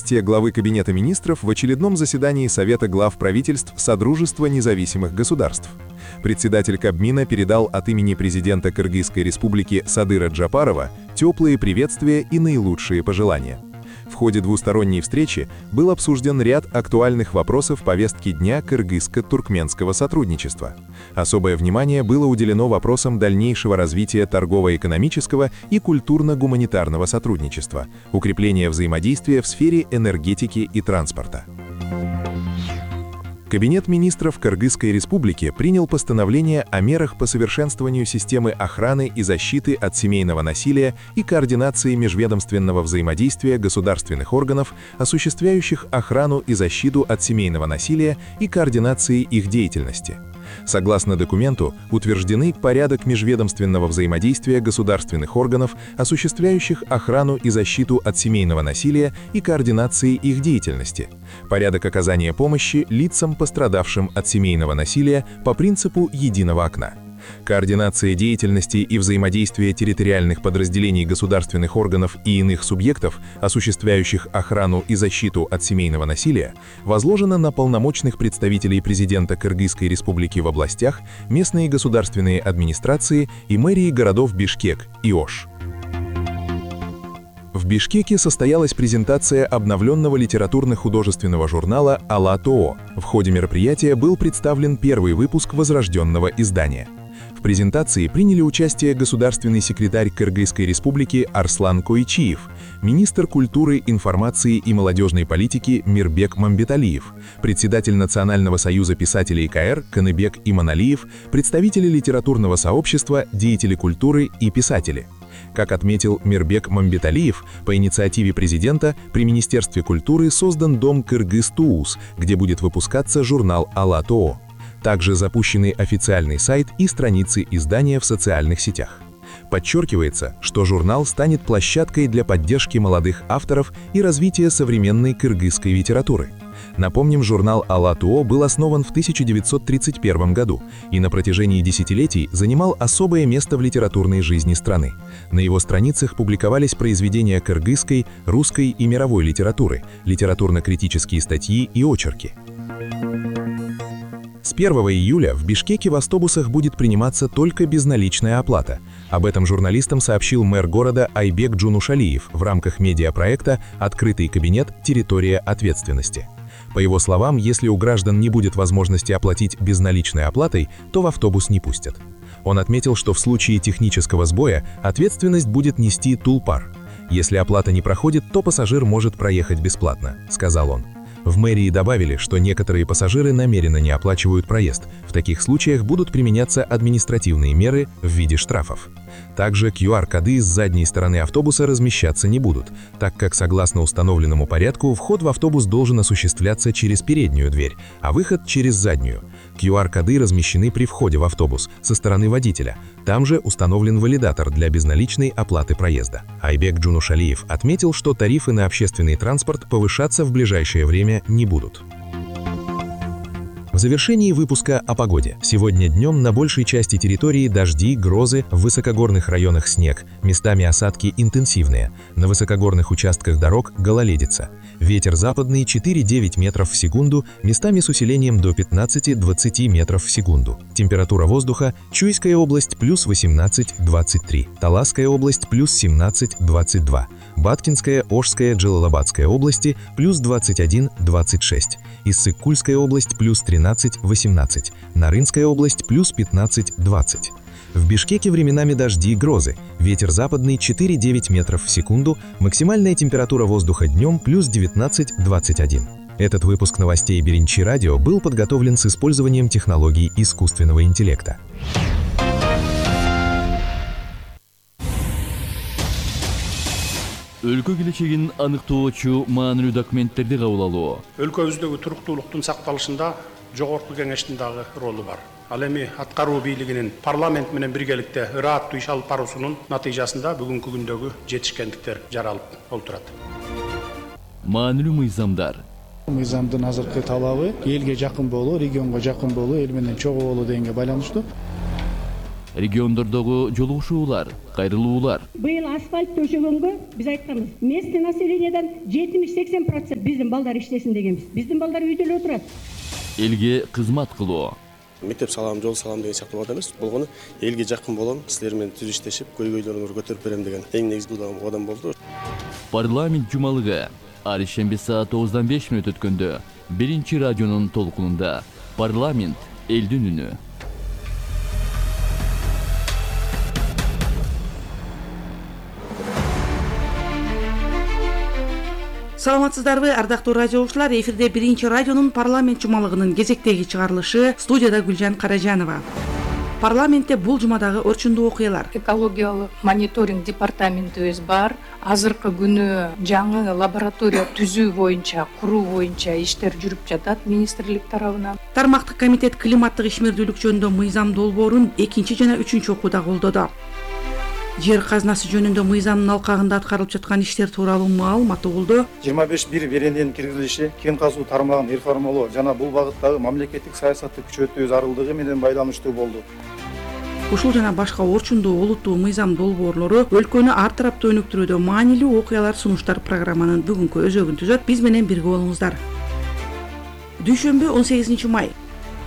Главы Кабинета министров в очередном заседании Совета глав правительств Содружества независимых государств. Председатель Кабмина передал от имени президента Кыргызской республики Садыра Джапарова теплые приветствия и наилучшие пожелания. В ходе двусторонней встречи был обсужден ряд актуальных вопросов повестки дня кыргызско-туркменского сотрудничества. Особое внимание было уделено вопросам дальнейшего развития торгово-экономического и культурно-гуманитарного сотрудничества, укрепления взаимодействия в сфере энергетики и транспорта. Кабинет министров Кыргызской республики принял постановление о мерах по совершенствованию системы охраны и защиты от семейного насилия и координации межведомственного взаимодействия государственных органов, осуществляющих охрану и защиту от семейного насилия и координации их деятельности. Согласно документу, утверждены порядок межведомственного взаимодействия государственных органов, осуществляющих охрану и защиту от семейного насилия и координации их деятельности, порядок оказания помощи лицам, пострадавшим от семейного насилия по принципу единого окна. Координация деятельности и взаимодействия территориальных подразделений государственных органов и иных субъектов, осуществляющих охрану и защиту от семейного насилия, возложена на полномочных представителей президента Кыргызской республики в областях, местные государственные администрации и мэрии городов Бишкек и Ош. В Бишкеке состоялась презентация обновленного литературно-художественного журнала «АЛА-ТОО». В ходе мероприятия был представлен первый выпуск возрожденного издания. В презентации приняли участие государственный секретарь Кыргызской республики Арслан Койчиев, министр культуры, информации и молодежной политики Мирбек Мамбеталиев, председатель Национального союза писателей КР Каныбек Иманалиев, представители литературного сообщества, деятели культуры и писатели. Как отметил Мирбек Мамбеталиев, по инициативе президента при Министерстве культуры создан дом Кыргыз-ТУУС, где будет выпускаться журнал «АЛА-ТОО». Также запущены официальный сайт и страницы издания в социальных сетях. Подчеркивается, что журнал станет площадкой для поддержки молодых авторов и развития современной кыргызской литературы. Напомним, журнал «АЛА-ТОО» был основан в 1931 году и на протяжении десятилетий занимал особое место в литературной жизни страны. На его страницах публиковались произведения кыргызской, русской и мировой литературы, литературно-критические статьи и очерки. С 1 июля в Бишкеке в автобусах будет приниматься только безналичная оплата. Об этом журналистам сообщил мэр города Айбек Джунушалиев в рамках медиапроекта «Открытый кабинет. Территория ответственности». По его словам, если у граждан не будет возможности оплатить безналичной оплатой, то в автобус не пустят. Он отметил, что в случае технического сбоя ответственность будет нести Тулпар. Если оплата не проходит, то пассажир может проехать бесплатно, сказал он. В мэрии добавили, что некоторые пассажиры намеренно не оплачивают проезд. В таких случаях будут применяться административные меры в виде штрафов. Также QR-коды с задней стороны автобуса размещаться не будут, так как, согласно установленному порядку, вход в автобус должен осуществляться через переднюю дверь, а выход через заднюю. QR-коды размещены при входе в автобус со стороны водителя. Там же установлен валидатор для безналичной оплаты проезда. Айбек Джунушалиев отметил, что тарифы на общественный транспорт повышаться в ближайшее время не будут. В завершении выпуска о погоде. Сегодня днем на большей части территории дожди, грозы, в высокогорных районах снег, местами осадки интенсивные. На высокогорных участках дорог гололедица. Ветер западный 4-9 метров в секунду, местами с усилением до 15-20 метров в секунду. Температура воздуха: Чуйская область плюс 18-23, Таласская область плюс 17-22, Баткинская, Ошская, Джалалабадская области плюс 21-26, Иссык-Кульская область плюс 13-18, Нарынская область плюс 15-20. В Бишкеке временами дожди и грозы, ветер западный 4-9 метров в секунду, максимальная температура воздуха днем плюс 19-21. Этот выпуск новостей Беренчи Радио был подготовлен с использованием технологий искусственного интеллекта. Өлкө келечегин аныктоочу маанилүү документтерди кабыл алуу. Өлкөбүздөгү туруктуулуктун сакталышында жогорку кеңештин дагы ролу бар. Ал эми аткаруу бийлигинин парламент менен биргеликте ырааттуу иш алып баруусунун натыйжасында бүгүнкү күндөгү жетишкендиктер жаралып олтурат. Маанилүү мыйзамдар. Мыйзамдын азыркы талабы элге жакын болуу, регионго жакын болуу, эл менен чогуу болуу дегенге байланыштуу. региондордогу жолугушуулар, кайрылуулар. Быйыл асфальт төшөгөнгө биз айтканбыз. Местный населениядан 70-80% биздин балдар иштесин дегенбиз. Биздин балдар үйдө эле отурат. Элге кызмат кылуу. Мектеп салам, жол салам деген сыяктуу бат эмес. Болгону элге жакын болом, силер менен түз иштешип, көйгөйлөрүңөрдү көтөрүп берем деген эң негизги кадам болду. Парламент жумалыгы ар ишемби саат 9:05 өткөндө биринчи радионун толкунунда парламент элдин үнү. Саламатсыздарбы, ардактуу радиолучулар? Эфирде биринчи радионун парламент жумалыгынын кезектеги чыгарылышы, студияда Гүлжан Каражанова. Парламентте бул жумадагы орчундуу окуялар. Экологиялык мониторинг департаментибиз бар. Азыркы күнү жаңы лаборатория түзүү боюнча, куруу боюнча иштер жүрүп жатат министрлик тарабынан. Тармактык комитет климаттык ишмердүүлүк жөнүндө мыйзам долбоорун 2 жана 3 окууда колдоду. Жер казынасы жөнүндө мыйзамдын алкагында аткарылып жаткан иштер тууралуу маалымат угулду. 25 берененин киргизилиши, кен казуу тармагын реформалоо жана бул багыттагы мамлекеттик саясатты күчөтүү зарылдыгы менен байланыштуу болду. Ушул жана башка орчундуу олуттуу мыйзам долбоорлору өлкөнү ар тараптуу өнүктүрүүдө маанилүү окуялар сунуштар программанын бүгүнкү өзөгүн түзөт. Биз менен бирге болуңуздар. Дүйшөмбү 18 май.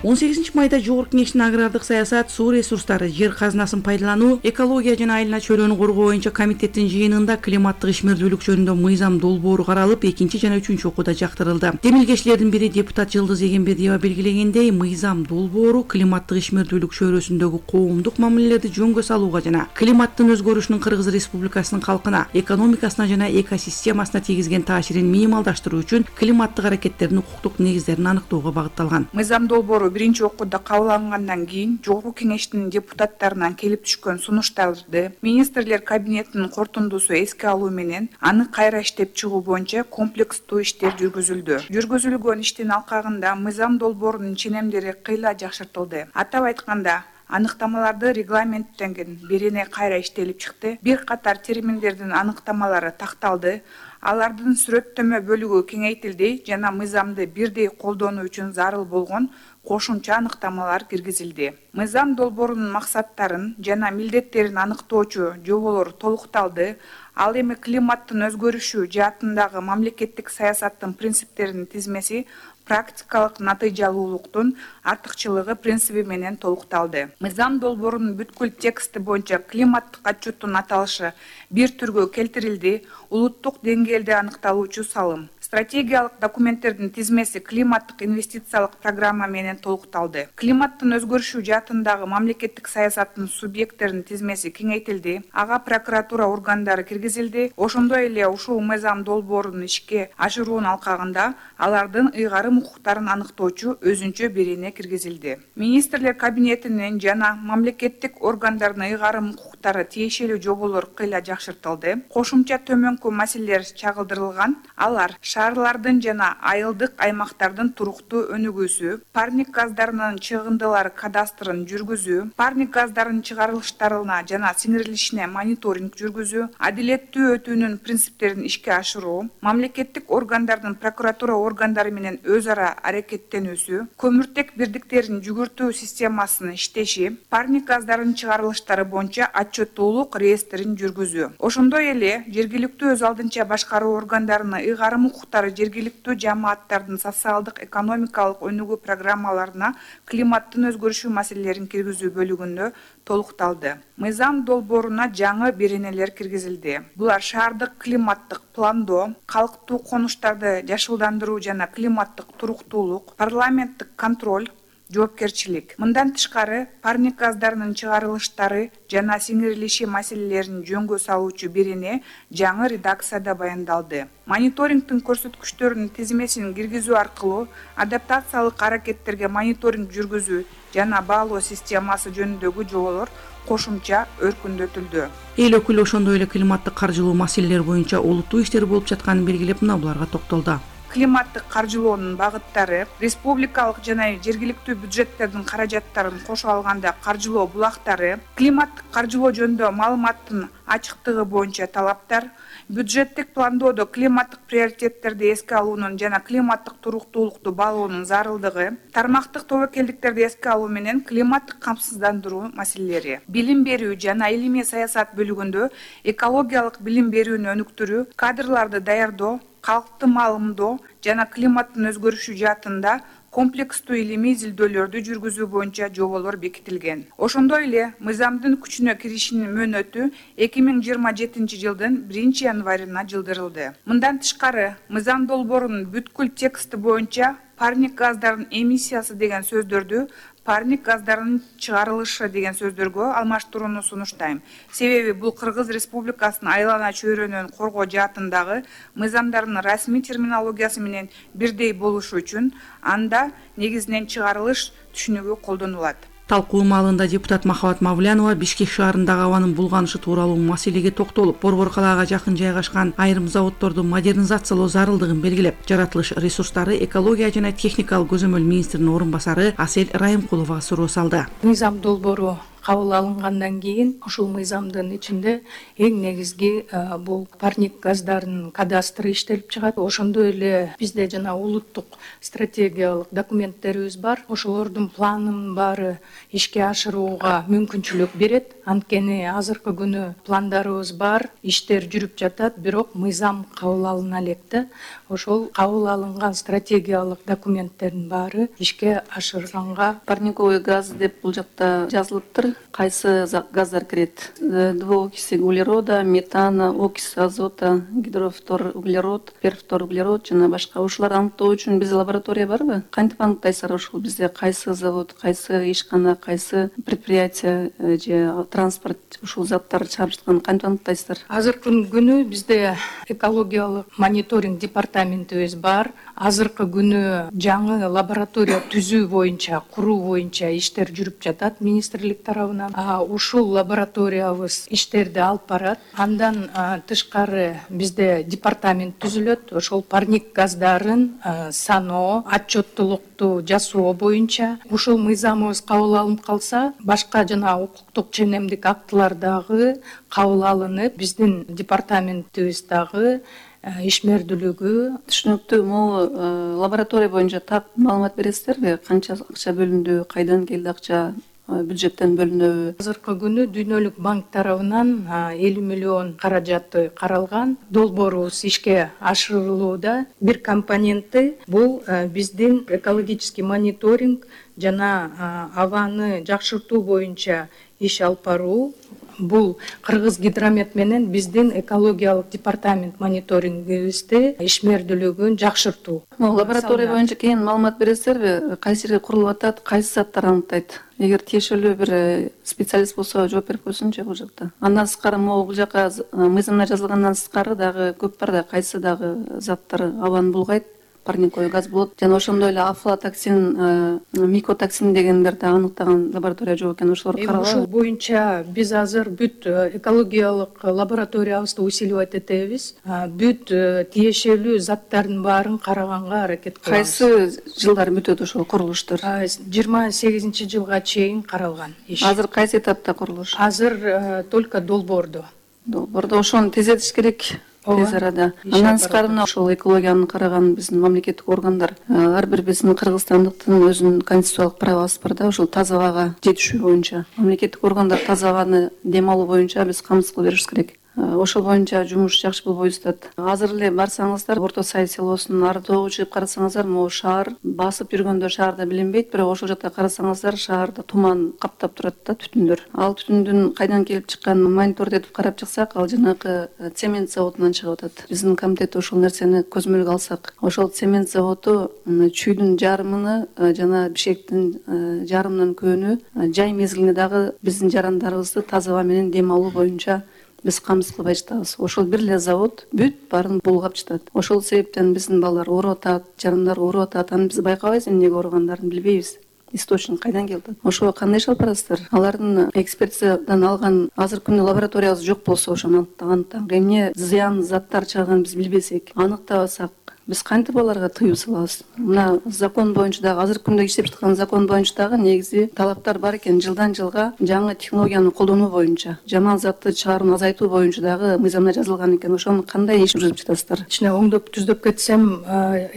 18 майда Жогорку Кеңештин агрардык саясат, суу ресурстары, жер казынасын пайдалануу, экология жана айлана чөйрөнү коргоо боюнча комитеттин жыйынында климаттык ишмердүүлүк жөнүндө мыйзам долбоору каралып, 2 жана 3 окууда жактырылды. Демилгечилердин бири депутат Жылдыз Эгембердиева белгилегендей, мыйзам долбоору климаттык ишмердүүлүк чөйрөсүндөгү коомдук мамилелерди жөнгө салууга жана климаттын өзгөрүшүнүн Кыргыз Республикасынын калкына, экономикасына жана экосистемасына тийгизген таасирин минималдаштыруу үчүн климаттык аракеттердин укуктук негиздерин аныктоого багытталган. Мыйзам долбоору биринчи окууда кабыл алынгандан кийин Жогорку Кеңештин депутаттарынан келип түшкөн сунуштарды министрлер кабинетинин кортундусу эске алуу менен аны кайра иштеп чыгуу боюнча комплекстүү иштер жүргүзүлдү. Жүргүзүлгөн иштин алкагында мыйзам долбоорунун ченемдери кыйла жакшыртылды. Атап айтканда, аныктамаларды регламенттенген берене кайра иштелип чыкты. Бир катар терминдердин аныктамалары такталды. Алардын сүрөттөмө бөлүгү кеңейтилди жана мыйзамды бирдей колдонуу үчүн зарыл болгон кошумча аныктамалар киргизилди. Мыйзам долбоорунун максаттарын жана милдеттерин аныктоочу жоболор толукталды. Ал эми климаттын өзгөрүшү жаатындагы мамлекеттик саясаттын принциптеринин тизмеси практикалык натыйжалуулуктун артыкчылыгы принциби менен толукталды. Мыйзам долбоорунун бүткүл тексти боюнча климаттык отчеттун аталышы бир түргө келтирилди. Улуттук деңгээлде аныкталуучу салым. Стратегиялык документтердин тизмеси климаттык инвестициялык программа менен толукталды. Климаттын өзгөрүшү жаатындагы мамлекеттик саясаттын субъекттеринин тизмеси кеңейтилди. Ага прокуратура органдары киргизилди. Ошондой эле ушул мыйзам долбоорунун ишке ашыруунун алкагында алардын ыйгарым укуктарын аныктоочу өзүнчө берене киргизилди. Министрлер кабинетинин жана мамлекеттик органдардын ыйгарым укуктары тиешелүү жоболор кыйла жакшыртылды. Кошумча төмөнкү маселелер чагылдырылган. Алар шаарлардын жана айылдык аймактардын туруктуу өнүгүүсү, парник газдарынын чыгындылары кадастрын жүргүзүү, парник газдарынын чыгарылыштарына жана сиңирилишине мониторинг жүргүзүү, адилеттүү өтүүнүн принциптерин ишке ашыруу, мамлекеттик органдардын прокуратура органдары менен өз ара аракеттенүүсү, көмүртек бирдиктеринин жүгүртүү системасынын иштеши, парник газдарынын чыгарылыштары боюнча отчеттуулук реестрин жүргүзүү. Ошондой эле жергиликтүү өз алдынча башкаруу органдарынын ыйгарым укуктары жергиликтүү жамааттардын социалдык экономикалык өнүгүү программаларына климаттын өзгөрүшү маселелерин киргизүү бөлүгүндө толукталды. Мыйзам долбооруна жаңы беренелер киргизилди. Булар шаардык климаттык пландоо, калктуу конуштарды жашылдандыруу жана климаттык туруктуулук, парламенттик контроль, жоопкерчилик. Мындан тышкары, парник газдарынын чыгарылыштары жана сиңирилиши маселелерин жөнгө салуучу берене жаңы редакцияда баяндалды. Мониторингдин көрсөткүчтөрүнүн тизмесин киргизүү аркылуу адаптациялык аракеттерге мониторинг жүргүзүү жана баалоо системасы жөнүндөгү жоболор кошумча өркүндөтүлдү. Эл өкүлү ошондой эле климаттык каржылоо маселелери боюнча олуттуу иштер болуп жатканын белгилеп, мына буларга токтолду. Климаттык каржылоонун багыттары, республикалык жана жергиликтүү бюджеттердин каражаттарын кошо алганда каржылоо булактары, климаттык каржылоо жөнүндө маалыматтын ачыктыгы боюнча талаптар, Бюджеттик пландоодо климаттык приоритеттерди эске алуунун жана климаттык туруктуулукту баалоонун зарылдыгы, тармактык тобокелдиктерди эске алуу менен климаттык камсыздандыруу маселелери, билим берүү жана илимий саясат бөлүгүндө экологиялык билим берүүнү өнүктүрүү, кадрларды даярдоо, калкты маалымдоо жана климаттын өзгөрүшү жаатында комплекстүү илимий изилдөөлөрдү жүргүзүү боюнча жоболор бекитилген. Ошондой эле мыйзамдын күчүнө киришинин мөөнөтү 2027 жылдын 1 январына жылдырылды. Мындан тышкары, мыйзам долбоорунун бүткүл тексти боюнча парник газдарынын эмиссиясы деген сөздөрдү парник газдарынын чыгарылышы деген сөздөргө алмаштырууну сунуштайм. Себеби бул Кыргыз Республикасынын айлана чөйрөнүн коргоо жаатындагы мыйзамдардын расмий терминологиясы менен бирдей болушу үчүн анда негизинен чыгарылыш түшүнүгү колдонулат. Талкуу маалында депутат Махабат Мавлянова Бишкек шаарындагы абанын булганышы тууралуу маселеге токтолуп, Борбор калаага жакын жайгашкан айрым заводдорду модернизациялоо зарылдыгын белгилеп, жаратылыш ресурстары, экология жана техникалык көзөмөл министринин орун басары Асель Райымкуловага суроо салды. Мыйзам долбоору кабыл алынгандан кийин ушул мыйзамдын ичинде эң негизги бул парник газдарынын кадастры иштелип чыгат. Ошондой эле бизде жана улуттук стратегиялык документтерибиз бар. Ошолордун планын баары ишке ашырууга мүмкүнчүлүк берет. Анткени азыркы күнү пландарыбыз бар, иштер жүрүп жатат, бирок мыйзам кабыл алына элек да. Ошол кабыл алынган стратегиялык документтердин баары ишке ашырганга парниковый газ деп бул жакта жазылыптыр. Кайсы газдар кирет? Двуокиси углерода, метана, окись азота, гидрофтор углерод, перфтор углерод жана башка. Ушуларды аныктоо үчүн бизде лаборатория барбы? Кантип аныктайсыздар ушул бизде кайсы завод, кайсы ишкана, кайсы предприятие же транспорт ушул заттарды чыгарып жатканын кантип аныктайсыздар? Азыркы күнү бизде экологиялык мониторинг департаментибиз бар. Азыркы күнү жаңы лаборатория түзүү боюнча, куруу боюнча иштер жүрүп жатат министрлик тарабынан. Ушул лабораториябыз иштерди алып барат. Андан тышкары бизде департамент түзүлөт. Ошол парник газдарын саноо, отчеттуулукту жасоо боюнча ушул мыйзамыбыз кабыл алынып калса, башка жана укуктук ченемдик актылар дагы кабыл алынып, биздин департаментибиз дагы ишмердүүлүгү түшүнүктүү. Могу лаборатория боюнча так маалымат бересиздерби? Канча акча бөлүндү, кайдан келди акча, бюджеттен бөлүнөбү? Азыркы күнү Дүйнөлүк банк тарабынан 50 миллион каражаты каралган. Долбоорубуз ишке ашырылууда. Бир компоненти бул биздин экологический мониторинг жана абаны жакшыртуу боюнча иш алып баруу. Бул Кыргыз Гидромет менен биздин экологиялык департамент мониторингибизди ишмердүүлүгүн жакшыртуу. Лаборатория боюнча кийин маалымат бересиздерби? Кайсы жерге курулуп атат, кайсы заттар аныктайт? Эгер тиешелүү бир специалист болсо жооп берип койсунчу бул жакта. Андан сырткары могу бул жака мыйзамда жазылгандан сырткары дагы көп бар да, кайсы дагы заттар абаны булгайт? Парниковый газ болот жана ошондой эле афлатоксин, микотоксин дегендерди аныктаган лаборатория жок экен. Ошолор каралабы? Ушул боюнча биз азыр бүт экологиялык лабораториябызды усиливать этебиз. Бүт тиешелүү заттардын баарын караганга аракет кылабыз. Кайсы жылдар бүтөт ошол курулуштар? 28-жылга чейин каралган иш. Азыр кайсы этапта курулуш? Азыр только долбоордо. Ошону тездетиш керек. Тез арада. Андан сырткары ошол экологияны караган биздин мамлекеттик органдар, ар бир биздин кыргызстандыктын өзүнүн конституциялык правасы бар да, ошол таза абага жетишүү боюнча. Мамлекеттик органдар таза абаны дем алуу боюнча биз камсыз кылып беришибиз керек. Ошол боюнча жумуш жакшы болбой жатат. Азыр эле барсаңыздар, Орто Сай селосунун ардоого чыгып карасаңыздар, могу шаар басып жүргөндө шаарда билинбейт, бирок ошол жакта карасаңыздар, шаарда туман каптап турат да, түтүндөр. Ал түтүндүн кайдан келип чыкканын мониторду этип карап чыксак, ал жанагы цемент заводунан чыгып атат. Биздин комитет ошол нерсени көзөмөлгө алсак, ошол цемент заводу чүйдүн жарымыны жана Бишкектин жарымынан көбүнү жай мезгилинде дагы биздин жарандарыбызды таза аба менен дем алуу боюнча биз камсыз кылбай жатабыз. Ошол бир эле завод бүт баарын булгап жатат. Ошол себептен биздин балдар ооруп атат, жарандар ооруп атат. Аны биз байкабайбыз, эмнеге ооругандарын билбейбиз. Источник кайдан келип атат? Ошого кандай иш алып барасыздар? Алардын экспертизадан алган азыркы күнү лабораториябыз жок болсо, ошону аныктаган эмне зыян заттар чыгарганын биз билбесек, аныктабасак, Биз кантип аларга тыюу салабыз? Мына закон боюнча дагы азыркы күндө иштеп жаткан закон боюнча дагы негизи талаптар бар экен. Жылдан жылга жаңы технологияны колдонуу боюнча, жаман затты чыгарууну азайтуу боюнча дагы мыйзамда жазылган экен. Ошону кандай иш жүргүзүп жатасыздар? Ичине оңдоп түздөп кетсем,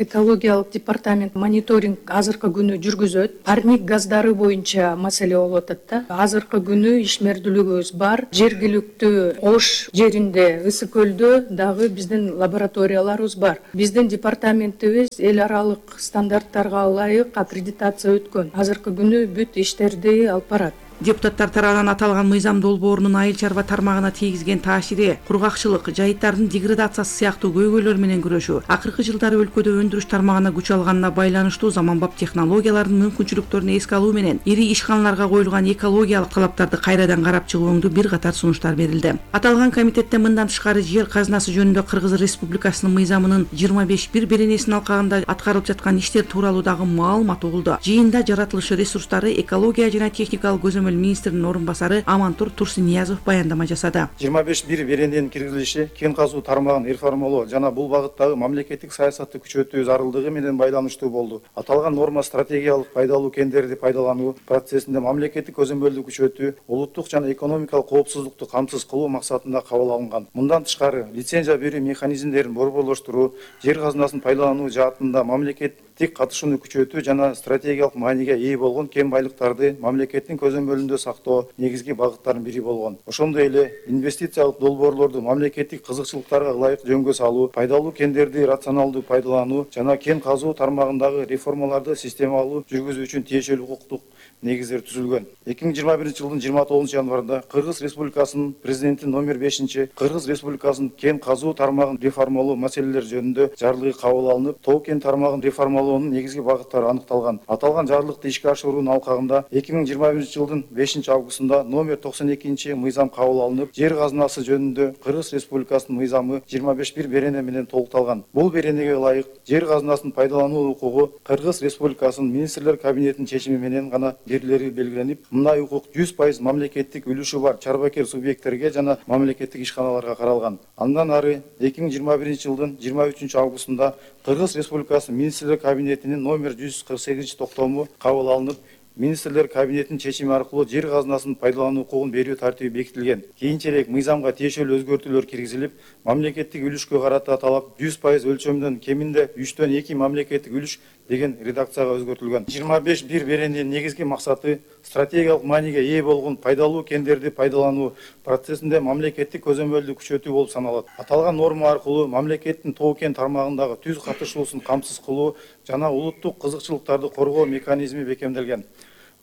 экологиялык департамент мониторинг азыркы күнү жүргүзөт. Парник газдары боюнча маселе болуп атат да. Азыркы күнү ишмердүүлүгүбүз бар. Жергиликтүү Ош жеринде, Ысык көлдө дагы биздин лабораторияларыбыз бар. Биздин департаментибиз эл аралык стандарттарга ылайык аккредитация өткөн. Азыркы күнү бүт иштерди алып барат. Депутаттар тарабынан аталган мыйзам долбоорунун айыл чарба тармагына тийгизген таасири, кургакчылык, жайыттардын деградациясы сыяктуу көйгөйлөр менен күрөшүү, акыркы жылдары өлкөдө өндүрүш тармагына күч алганына байланыштуу заманбап технологиялардын мүмкүнчүлүктөрүн эске алуу менен ири ишканаларга коюлган экологиялык талаптарды кайрадан карап чыгуу өңдүү бир катар сунуштар берилди. Аталган комитетте мындан тышкары жер казынасы жөнүндө Кыргыз Республикасынын мыйзамынын 25 беренесинин алкагында аткарылып жаткан иштер тууралуу дагы маалымат угулду. Жыйында жаратылыш ресурстары, экология жана техникалык көзөмөл министринин орун басары Амантур Турсуниязов баяндама жасады. 25 берененин киргизилиши кен казуу тармагын реформалоо жана бул багыттагы мамлекеттик саясатты күчөтүү зарылдыгы менен байланыштуу болду. Аталган норма стратегиялык пайдалуу кендерди пайдалануу процессинде мамлекеттик көзөмөлдү күчөтүү, улуттук жана экономикалык коопсуздукту камсыз кылуу максатында кабыл алынган. Мындан тышкары лицензия берүү механизмдерин борборлоштуруу, жер казынасын пайдалануу жаатында мамлекеттик катышууну күчөтүү жана стратегиялык мааниге ээ болгон кен байлыктарды мамлекеттин көзөмөлүндө сактоо негизги багыттардын бири болгон. Ошондой эле инвестициялык долбоорлорду мамлекеттик кызыкчылыктарга ылайык жөнгө салуу, пайдалуу кендерди рационалдуу пайдалануу жана кен казуу тармагындагы реформаларды системалуу жүргүзүү үчүн тиешелүү укуктук негиздер түзүлгөн. 2021 жылдын 29 январында Кыргыз Республикасынын президенти номер 5 Кыргыз Республикасынын кен казуу тармагын реформалоо маселелери жөнүндө жарлыгы кабыл алынып, тоо кен тармагын реформалоонун негизги багыттары аныкталган. Аталган жарлыкты ишке ашыруунун алкагында 2021 жылдын 5 августунда номер 92 мыйзам кабыл алынып, жер казынасы жөнүндө Кыргыз Республикасынын мыйзамы 25 берене менен толукталган. Бул беренеге ылайык жер казынасын пайдалануу укугу Кыргыз Республикасынын министрлер кабинетинин чечими менен гана берилери белгиленип, мындай укук 100% мамлекеттик үлүшү бар чарбакер субъекттерге жана мамлекеттик ишканаларга каралган. Андан ары 2021 жылдын 23 августунда Кыргыз Республикасынын министрлер кабинетинин номер 148 токтому кабыл алынып, министрлер кабинетинин чечими аркылуу жер казынасын пайдалануу укугун берүү тартиби бекитилген. Кийинчерээк мыйзамга тиешелүү өзгөртүүлөр киргизилип, мамлекеттик үлүшкө карата талап 100% өлчөмдөн кеминде 3-төн 2 мамлекеттик үлүш деген редакцияга өзгөртүлгөн. 25 берененин негизги максаты стратегиялык мааниге ээ болгон пайдалуу кендерди пайдалануу процессинде мамлекеттик көзөмөлдү күчөтүү болуп саналат. Аталган норма аркылуу мамлекеттин тоо кен тармагындагы түз катышуусун камсыз кылуу жана улуттук кызыкчылыктарды коргоо механизми бекемделген.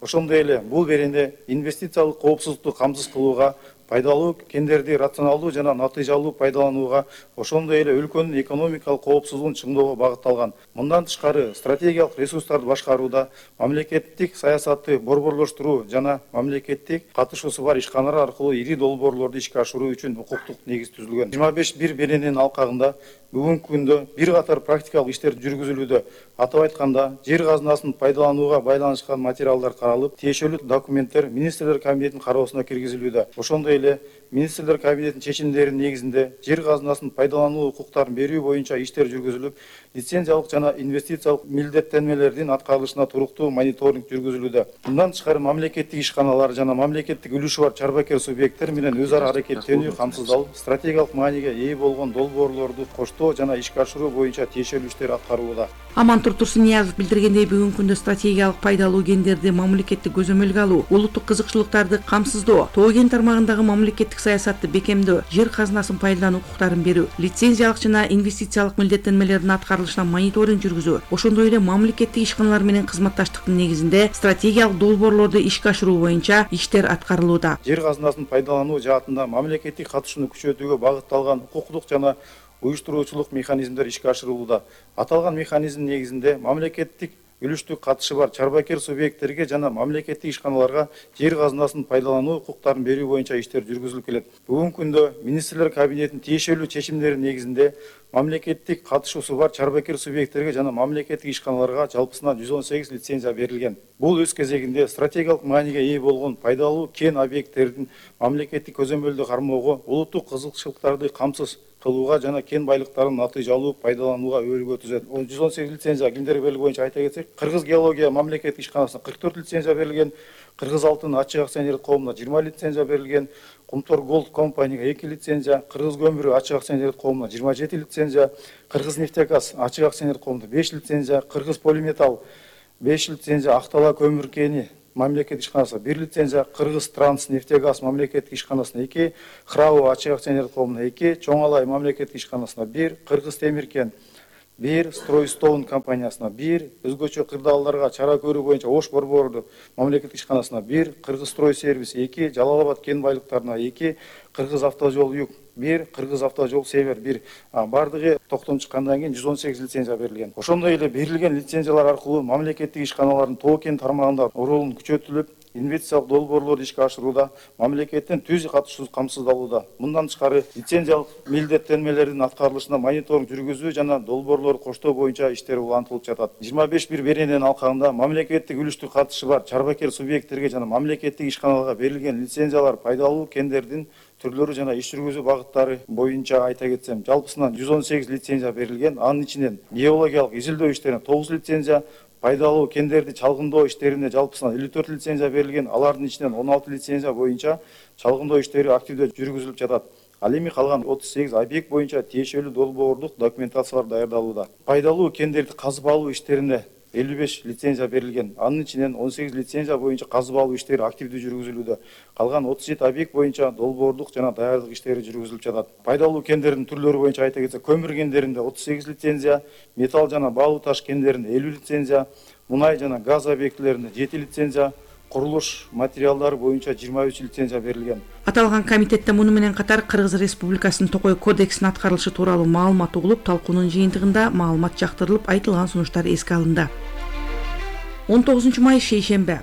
Ошондой эле бул берене инвестициялык коопсуздукту камсыз кылууга, пайдалуу кендерди рационалдуу жана натыйжалуу пайдаланууга, ошондой эле өлкөнүн экономикалык коопсуздугун чыңдоого багытталган. Мындан тышкары стратегиялык ресурстарды башкарууда мамлекеттик саясатты борборлоштуруу жана мамлекеттик катышуусу бар ишканалар аркылуу ири долбоорлорду ишке ашыруу үчүн укуктук негиз түзүлгөн. 25 берененин алкагында бүгүнкү күндө бир катар практикалык иштер жүргүзүлүүдө. Атап айтканда, жер казынасын пайдаланууга байланышкан материалдар каралып, тиешелүү документтер министрлер кабинетинин кароосуна киргизилүүдө. Ошондой эле министрлер кабинетинин чечимдеринин негизинде жер казынасын пайдалануу укуктарын берүү боюнча иштер жүргүзүлүп, лицензиялык жана инвестициялык милдеттенмелердин аткарылышына туруктуу мониторинг жүргүзүлүүдө. Мындан тышкары мамлекеттик ишканалар жана мамлекеттик үлүшү бар чарбакер субъекттер менен өз ара аракеттенүү камсыздалып, стратегиялык мааниге ээ болгон долбоорлорду коштоо жана ишке ашыруу боюнча тиешелүү иштер аткарылууда. Амантур Турсуниязов билдиргендей, бүгүнкү күндө стратегиялык пайдалуу кендерди мамлекеттик көзөмөлгө алуу, улуттук кызыкчылыктарды камсыздоо, тоо кен тармагындагы мамлекеттик саясатты бекемдөө, жер казынасын пайдалануу укуктарын берүү, лицензиялык жана инвестициялык милдеттенмелердин аткарылышына мониторинг жүргүзүү, ошондой эле мамлекеттик ишканалар менен кызматташтыктын негизинде стратегиялык долбоорлорду ишке ашыруу боюнча иштер аткарылууда. Жер казынасын пайдалануу жаатында мамлекеттик катышууну күчөтүүгө багытталган укуктук жана уюштуруучулук механизмдер ишке ашырылууда. Аталган механизм негизинде мамлекеттик үлүштүк катышы бар чарбакер субъекттерге жана мамлекеттик ишканаларга жер казынасын пайдалануу укуктарын берүү боюнча иштер жүргүзүлүп келет. Бүгүнкү күндө министрлер кабинетинин тиешелүү чечимдеринин негизинде мамлекеттик катышуусу бар чарбакер субъекттерге жана мамлекеттик ишканаларга жалпысынан 118 лицензия берилген. Бул өз кезегинде стратегиялык мааниге ээ болгон пайдалуу кен объекттердин мамлекеттик көзөмөлдү кармоого, улуттук кызыкчылыктарды камсыз кылууга жана кен байлыктарын натыйжалуу пайдаланууга өбөлгө түзөт. 118 лицензия кимдерге берилген боюнча айта кетсек, Кыргыз геология мамлекеттик ишканасына 44 лицензия берилген, Кыргыз алтын ачык акционерлик коомуна 20 лицензия берилген, Кумтор Голд компанияга 2 лицензия, Кыргыз көмүрү ачык акционерлик коомуна 27 лицензия, Кыргыз нефтегаз ачык акционерлик коомуна 5 лицензия, Кыргыз полиметалл 5 лицензия, Актала көмүр кени мамлекеттик ишканасына 1 лицензия, Кыргыз Транс нефтегаз мамлекеттик ишканасына 2, Храу ачык акционерлик коомуна 2, Чоң Алай мамлекеттик ишканасына 1, Кыргыз Темиркен 1, Стройстоун компаниясына 1, өзгөчө кырдаалдарга чара көрүү боюнча Ош борборду мамлекеттик ишканасына 1, Кыргыз Строй сервис 2, Жалал-Абад кен байлыктарына 2, Кыргыз автожол юг 1, Кыргыз автожол север 1. Бардыгы токтом чыккандан кийин 118 лицензия берилген. Ошондой эле берилген лицензиялар аркылуу мамлекеттик ишканалардын тоо кен тармагында ролун күчөтүлүп, инвестициялык долбоорлорду ишке ашырууда мамлекеттин түз катышуусу камсыздалууда. Мындан тышкары лицензиялык милдеттенмелердин аткарылышына мониторинг жүргүзүү жана долбоорлорду коштоо боюнча иштер улантылып жатат. 25 берененин алкагында мамлекеттик үлүштүк катышы бар чарбакер субъекттерге жана мамлекеттик ишканаларга берилген лицензиялар пайдалуу кендердин түрлөрү жана иш жүргүзүү багыттары боюнча айта кетсем, жалпысынан 118 лицензия берилген. Анын ичинен геологиялык изилдөө иштерине 9 лицензия, пайдалуу кендерди чалгындоо иштерине жалпысынан 54 лицензия берилген. Алардын ичинен 16 лицензия боюнча чалгындоо иштери активдүү жүргүзүлүп жатат. Ал эми калган 38 объект боюнча тиешелүү долбоорлук документациялар даярдалууда. Пайдалуу кендерди казып алуу иштерине 55 лицензия берилген. Анын ичинен 18 лицензия боюнча казып алуу иштери активдүү жүргүзүлүүдө. Калган 37 объект боюнча долбоорлук жана даярдык иштери жүргүзүлүп жатат. Пайдалуу кендердин түрлөрү боюнча айта кетсек, көмүр кендеринде 38 лицензия, металл жана баалуу таш кендеринде 50 лицензия, мунай жана газ объектилеринде 7 лицензия, курулуш материалдары боюнча 23 лицензия берилген. Аталган комитетте муну менен катар Кыргыз Республикасынын Токой кодексинин аткарылышы тууралуу маалымат угулуп, талкуунун жыйынтыгында маалымат жактырылып, айтылган сунуштар эске алынды. 19 май шейшембе.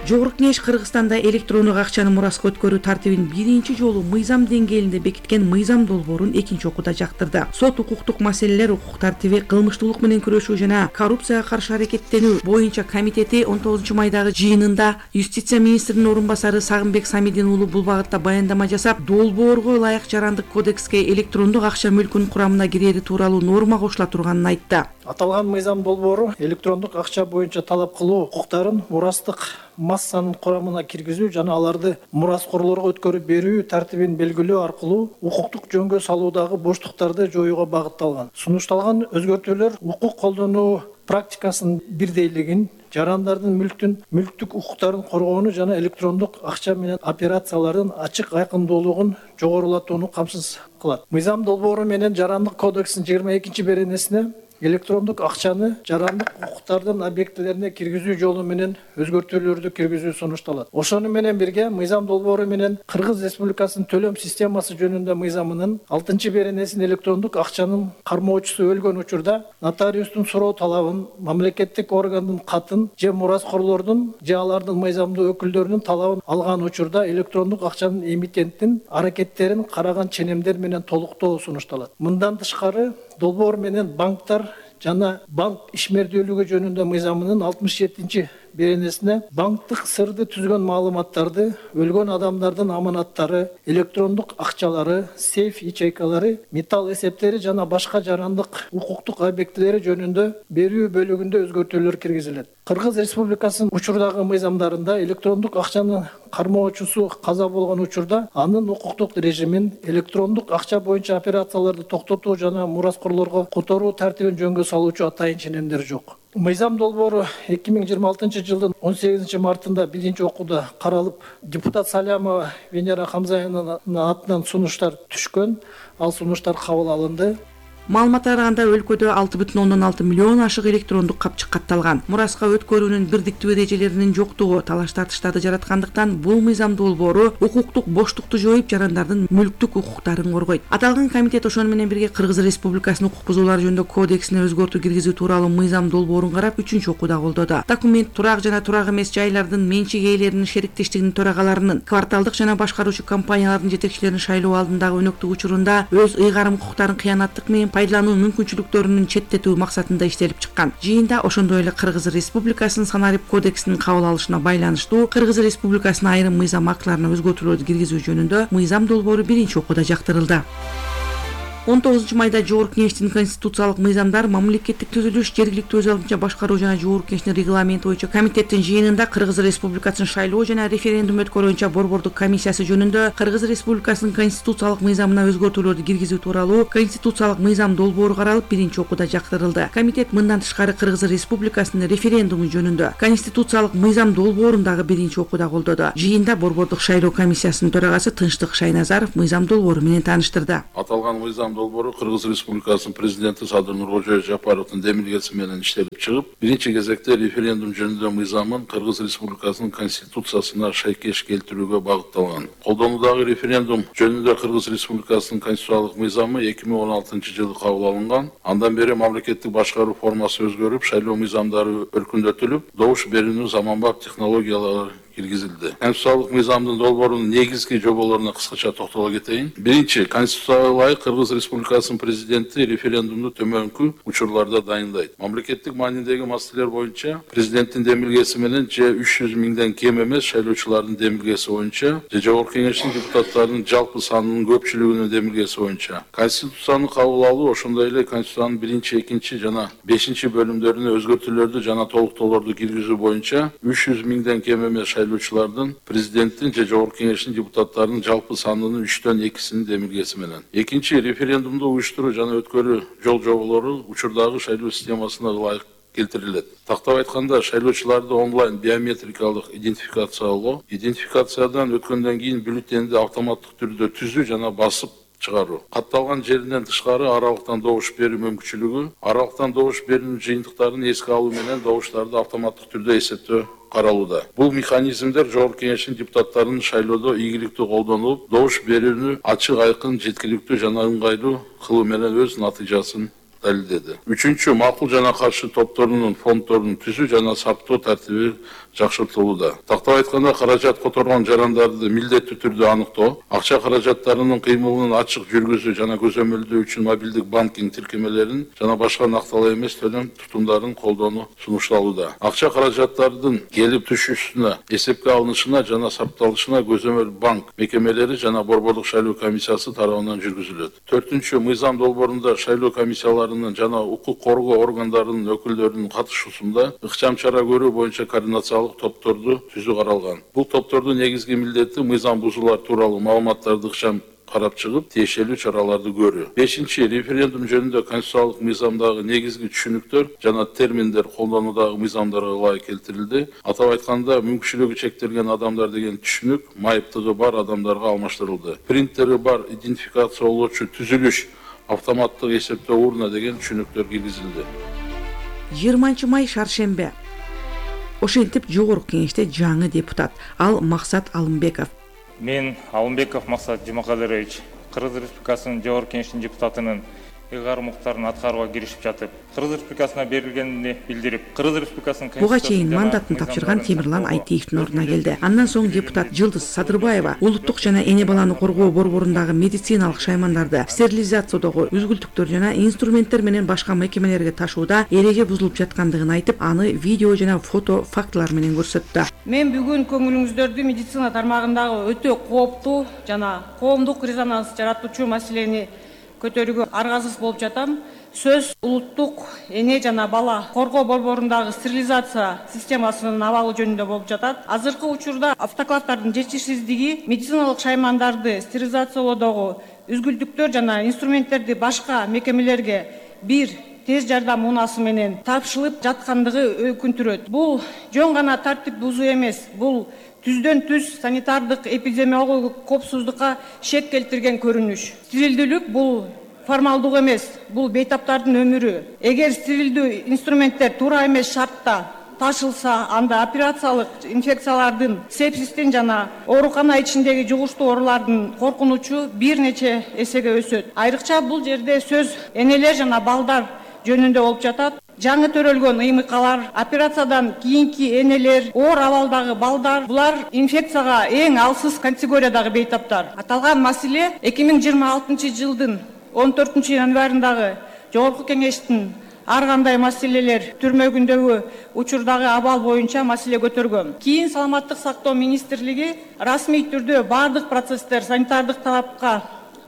Жогорку Кеңеш Кыргызстанда электрондук акчаны мураска өткөрүү тартибин биринчи жолу мыйзам деңгээлинде бекиткен мыйзам долбоорун экинчи окууда жактырды. Сот укуктук маселелер, укук тартиби, кылмыштуулук менен күрөшүү жана коррупцияга каршы аракеттенүү боюнча комитети 19 майдагы жыйынында Юстиция министринин орун басары Сагынбек Самидин уулу бул багытта баяндама жасап, долбоорго ылайык жарандык кодекске электрондук акча мүлкүнүн курамына кирери тууралуу норма кошула турганын айтты. Аталган мыйзам долбоору электрондук акча боюнча талап кылуу укуктарын мурастык массанын курамына киргизүү жана аларды мураскорлорго өткөрүп берүү тартибин белгилөө аркылуу укуктук жөнгө салуудагы боштуктарды жоюуга багытталган. Сунушталган өзгөртүүлөр укук колдонуу практикасынын бирдейлигин, жарандардын мүлктүк укуктарын коргоону жана электрондук акча менен операциялардын ачык айкындуулугун жогорулатууну камсыз кылат. Мыйзам долбоору менен жарандык кодекстин 22 беренесине электрондук акчаны жарандык укуктардын объектилерине киргизүү жолу менен өзгөртүүлөрдү киргизүү сунушталат. Ошону менен бирге мыйзам долбоору менен Кыргыз Республикасынын төлөм системасы жөнүндө мыйзамынын 6 беренесин электрондук акчанын кармоочусу өлгөн учурда нотариустун суроо талабын, мамлекеттик органдын катын же мураскорлордун же алардын мыйзамдуу өкүлдөрүнүн талабын алган учурда электрондук акчанын эмитенттин аракеттерин караган ченемдер менен толуктоо сунушталат. Мындан тышкары долбоор менен банктар жана банк ишмердүүлүгү жөнүндө мыйзамынын 67 беренесине банктык сырды түзгөн маалыматтарды, өлгөн адамдардын аманаттары, электрондук акчалары, сейф ячейкалары, металл эсептери жана башка жарандык укуктук объектилери жөнүндө берүү бөлүгүндө өзгөртүүлөр киргизилет. Кыргыз Республикасынын учурдагы мыйзамдарында электрондук акчанын кармоочусу каза болгон учурда анын укуктук режимин, электрондук акча боюнча операцияларды токтотуу жана мураскорлорго которуу тартибин жөнгө салуучу атайын ченемдер жок. Мыйзам долбоору 2026 жылдын 18 мартында биринчи окууда каралып, депутат Салямова Венера Хамзаевнанын атынан сунуштар түшкөн. Ал сунуштар кабыл алынды. Маалыматка караганда өлкөдө 6,6 миллион ашык электрондук капчык катталган. Мураска өткөрүүнүн бирдиктүү эрежелеринин жоктугу талаш-тартыштарды жараткандыктан бул мыйзам долбоору укуктук боштукту жоюп, жарандардын мүлктүк укуктарын коргойт. Аталган комитет ошону менен бирге Кыргыз Республикасынын укук бузуулары жөнүндө кодексине өзгөртүү киргизүү тууралуу мыйзам долбоорун карап, 3 окууда колдоду. Документ турак жана турак эмес жайлардын менчик ээлеринин шериктештигинин төрагаларынын, кварталдык жана башкаруучу компаниялардын жетекчилеринин шайлоо алдындагы өнөктүк учурунда өз ыйгарым укуктарын кыянаттык менен пайдалануу мүмкүнчүлүктөрүнүн четтетүү максатында иштелип чыккан. Жыйында ошондой эле Кыргыз Республикасынын санарип кодексинин кабыл алышына байланыштуу Кыргыз Республикасынын айрым мыйзам актыларына өзгөртүүлөрдү киргизүү жөнүндө мыйзам долбоору биринчи окууда жактырылды. 19 майда Жогорку Кеңештин конституциялык мыйзамдар, мамлекеттик түзүлүш, жергиликтүү өз алдынча башкаруу жана Жогорку Кеңештин регламенти боюнча комитеттин жыйынында Кыргыз Республикасынын шайлоо жана референдум өткөрүү боюнча борбордук комиссиясы жөнүндө Кыргыз Республикасынын конституциялык мыйзамына өзгөртүүлөрдү киргизүү тууралуу конституциялык мыйзам долбоору каралып, биринчи окууда жактырылды. Комитет мындан тышкары Кыргыз Республикасынын референдуму жөнүндө конституциялык мыйзам долбоорун дагы биринчи окууда колдоду. Жыйында борбордук шайлоо комиссиясынын төрагасы Тынчтык Шайназаров мыйзам долбоору менен тааныштырды. Аталган мыйзам долбоору Кыргыз Республикасынын президенти Садыр Нуркожоев Жапаровдун демилгеси менен иштелип чыгып, биринчи кезекте референдум жөнүндө мыйзамын Кыргыз Республикасынын конституциясына шайкеш келтирүүгө багытталган. Колдонуудагы референдум жөнүндө Кыргыз Республикасынын конституциялык мыйзамы 2016-жылы кабыл алынган. Андан бери мамлекеттик башкаруу формасы өзгөрүп, шайлоо мыйзамдары өркүндөтүлүп, добуш берүүнүн заманбап технологиялары киргизилди. Конституциялык мыйзамдын долбоорунун негизги жоболоруна кыскача токтоло кетейин. Биринчи, Конституцияга ылайык Кыргыз Республикасынын президенти референдумду төмөнкү учурларда дайындайт. Мамлекеттик маанидеги маселелер боюнча президенттин демилгеси менен же 300 миңден кем эмес шайлоочулардын демилгеси боюнча, же Жогорку Кеңештин депутаттарынын жалпы санынын көпчүлүгүнүн демилгеси боюнча. Конституцияны кабыл алуу ошондой эле Конституциянын 1, 2 жана 5 бөлүмдөрүнө өзгөртүүлөрдү жана толуктоолорду киргизүү боюнча 300 миңден кем эмес шайлоочулардын президенттин же Жогорку Кеңештин депутаттарынын жалпы санынын 3/2 демилгеси менен. Экинчи, референдумду уюштуруу жана өткөрүү жол жоболору учурдагы шайлоо системасына ылайык келтирилет. Тактап айтканда, шайлоочуларды онлайн биометрикалык идентификациялоо, идентификациядан өткөндөн кийин бюллетенди автоматтык түрдө түзүү жана басып чыгаруу. Катталган жеринен тышкары аралыктан добуш берүү мүмкүнчүлүгү, аралыктан добуш берүүнүн жыйынтыктарын эске алуу менен добуштарды автоматтык түрдө эсептөө каралууда. Бул механизмдер Жогорку Кеңештин депутаттарынын шайлоодо ийгиликтүү колдонулуп, добуш берүүнү ачык, айкын, жеткиликтүү жана ыңгайлуу кылуу менен өз натыйжасын далилдеди. Үчүнчү, макул жана каршы топторунун фонддорун түзүү жана сактоо тартиби жакшыртылууда. Тактап айтканда, каражат которгон жарандарды милдеттүү түрдө аныктоо, акча каражаттарынын кыймылын ачык жүргүзүү жана көзөмөлдөө үчүн мобилдик банкинг тиркемелерин жана башка накталуу эмес төлөм тутумдарын колдонуу сунушталууда. Акча каражаттардын келип түшүүсүнө, эсепке алынышына жана сакталышына көзөмөл банк мекемелери жана борбордук шайлоо комиссиясы тарабынан жүргүзүлөт. Төртүнчү, мыйзам долбоорунда шайлоо комиссияларынын жана укук коргоо органдарынын өкүлдөрүнүн катышуусунда ыкчам чара көрүү боюнча координациялык топторду түзүү каралган. Бул топтордун негизги милдети мыйзам бузуулар тууралуу маалыматтарды ыкчам карап чыгып, тиешелүү чараларды көрүү. Бешинчи, референдум жөнүндө конституциялык мыйзамдагы негизги түшүнүктөр жана терминдер колдонуудагы мыйзамдарга ылайык келтирилди. Атап айтканда, мүмкүнчүлүгү чектелген адамдар деген түшүнүк майыптыгы бар адамдарга алмаштырылды. Принтери бар идентификациялоочу түзүлүш, автоматтык эсептөө урна деген түшүнүктөр киргизилди. 20 май шаршембе. Ошентип Жогорку Кеңеште жаңы депутат, ал Максат Алымбеков. Мен Алымбеков Максат Жумакадырович, Кыргыз Республикасынын Жогорку Кеңештин депутатынын ыйгар укуктарын аткарууга киришип жатып, Кыргыз Республикасына берилгенин билдирип, Кыргыз Республикасынын буга чейин мандатын тапшырган Темирлан Айтиевдин ордуна келди. Андан соң депутат Жылдыз Садырбаева улуттук жана эне баланы коргоо борборундагы медициналык шаймандарды стерилизациядагы үзгүлтүктөр жана инструменттер менен башка мекемелерге ташууда эреже бузулуп жаткандыгын айтып, аны видео жана фото фактылар менен көрсөттү. Мен бүгүн көңүлүңүздөрдү медицина тармагындагы өтө кооптуу жана коомдук резонанс жаратуучу маселени көтөрүүгө аргасыз болуп жатам. Сөз улуттук эне жана бала коргоо борборундагы стерилизация системасынын абалы жөнүндө болуп жатат. Азыркы учурда автоклавдардын жетишсиздиги медициналык шаймандарды стерилизациялоодогу үзгүлтүктөр жана инструменттерди башка мекемелерге бир тез жардам унаасы менен тапшырылып жаткандыгы өкүнтүрөт. Бул жөн гана тартип бузуу эмес, бул түздөн түз санитардык эпидемиологиялык коопсуздукка шек келтирген көрүнүш. Стерилдүүлүк бул формалдык эмес, бул бейтаптардын өмүрү. Эгер стерилдүү инструменттер туура эмес шартта ташылса, анда операциялык инфекциялардын, сепсистин жана оорукана ичиндеги жугуштуу оорулардын коркунучу бир нече эсеге өсөт. Айрыкча бул жерде сөз энелер жана балдар жөнүндө болуп жатат. Жаңы төрөлгөн ыймыкалар, операциядан кийинки энелер, оор абалдагы балдар, булар инфекцияга эң алсыз категориядагы бейтаптар. Аталган маселе 2026 жылдын 14 январындагы Жогорку Кеңештин ар кандай маселелер түрмөгүндөгү учурдагы абал боюнча маселе көтөргөн. Кийин Саламаттык сактоо министрлиги расмий түрдө бардык процесстер санитардык талапка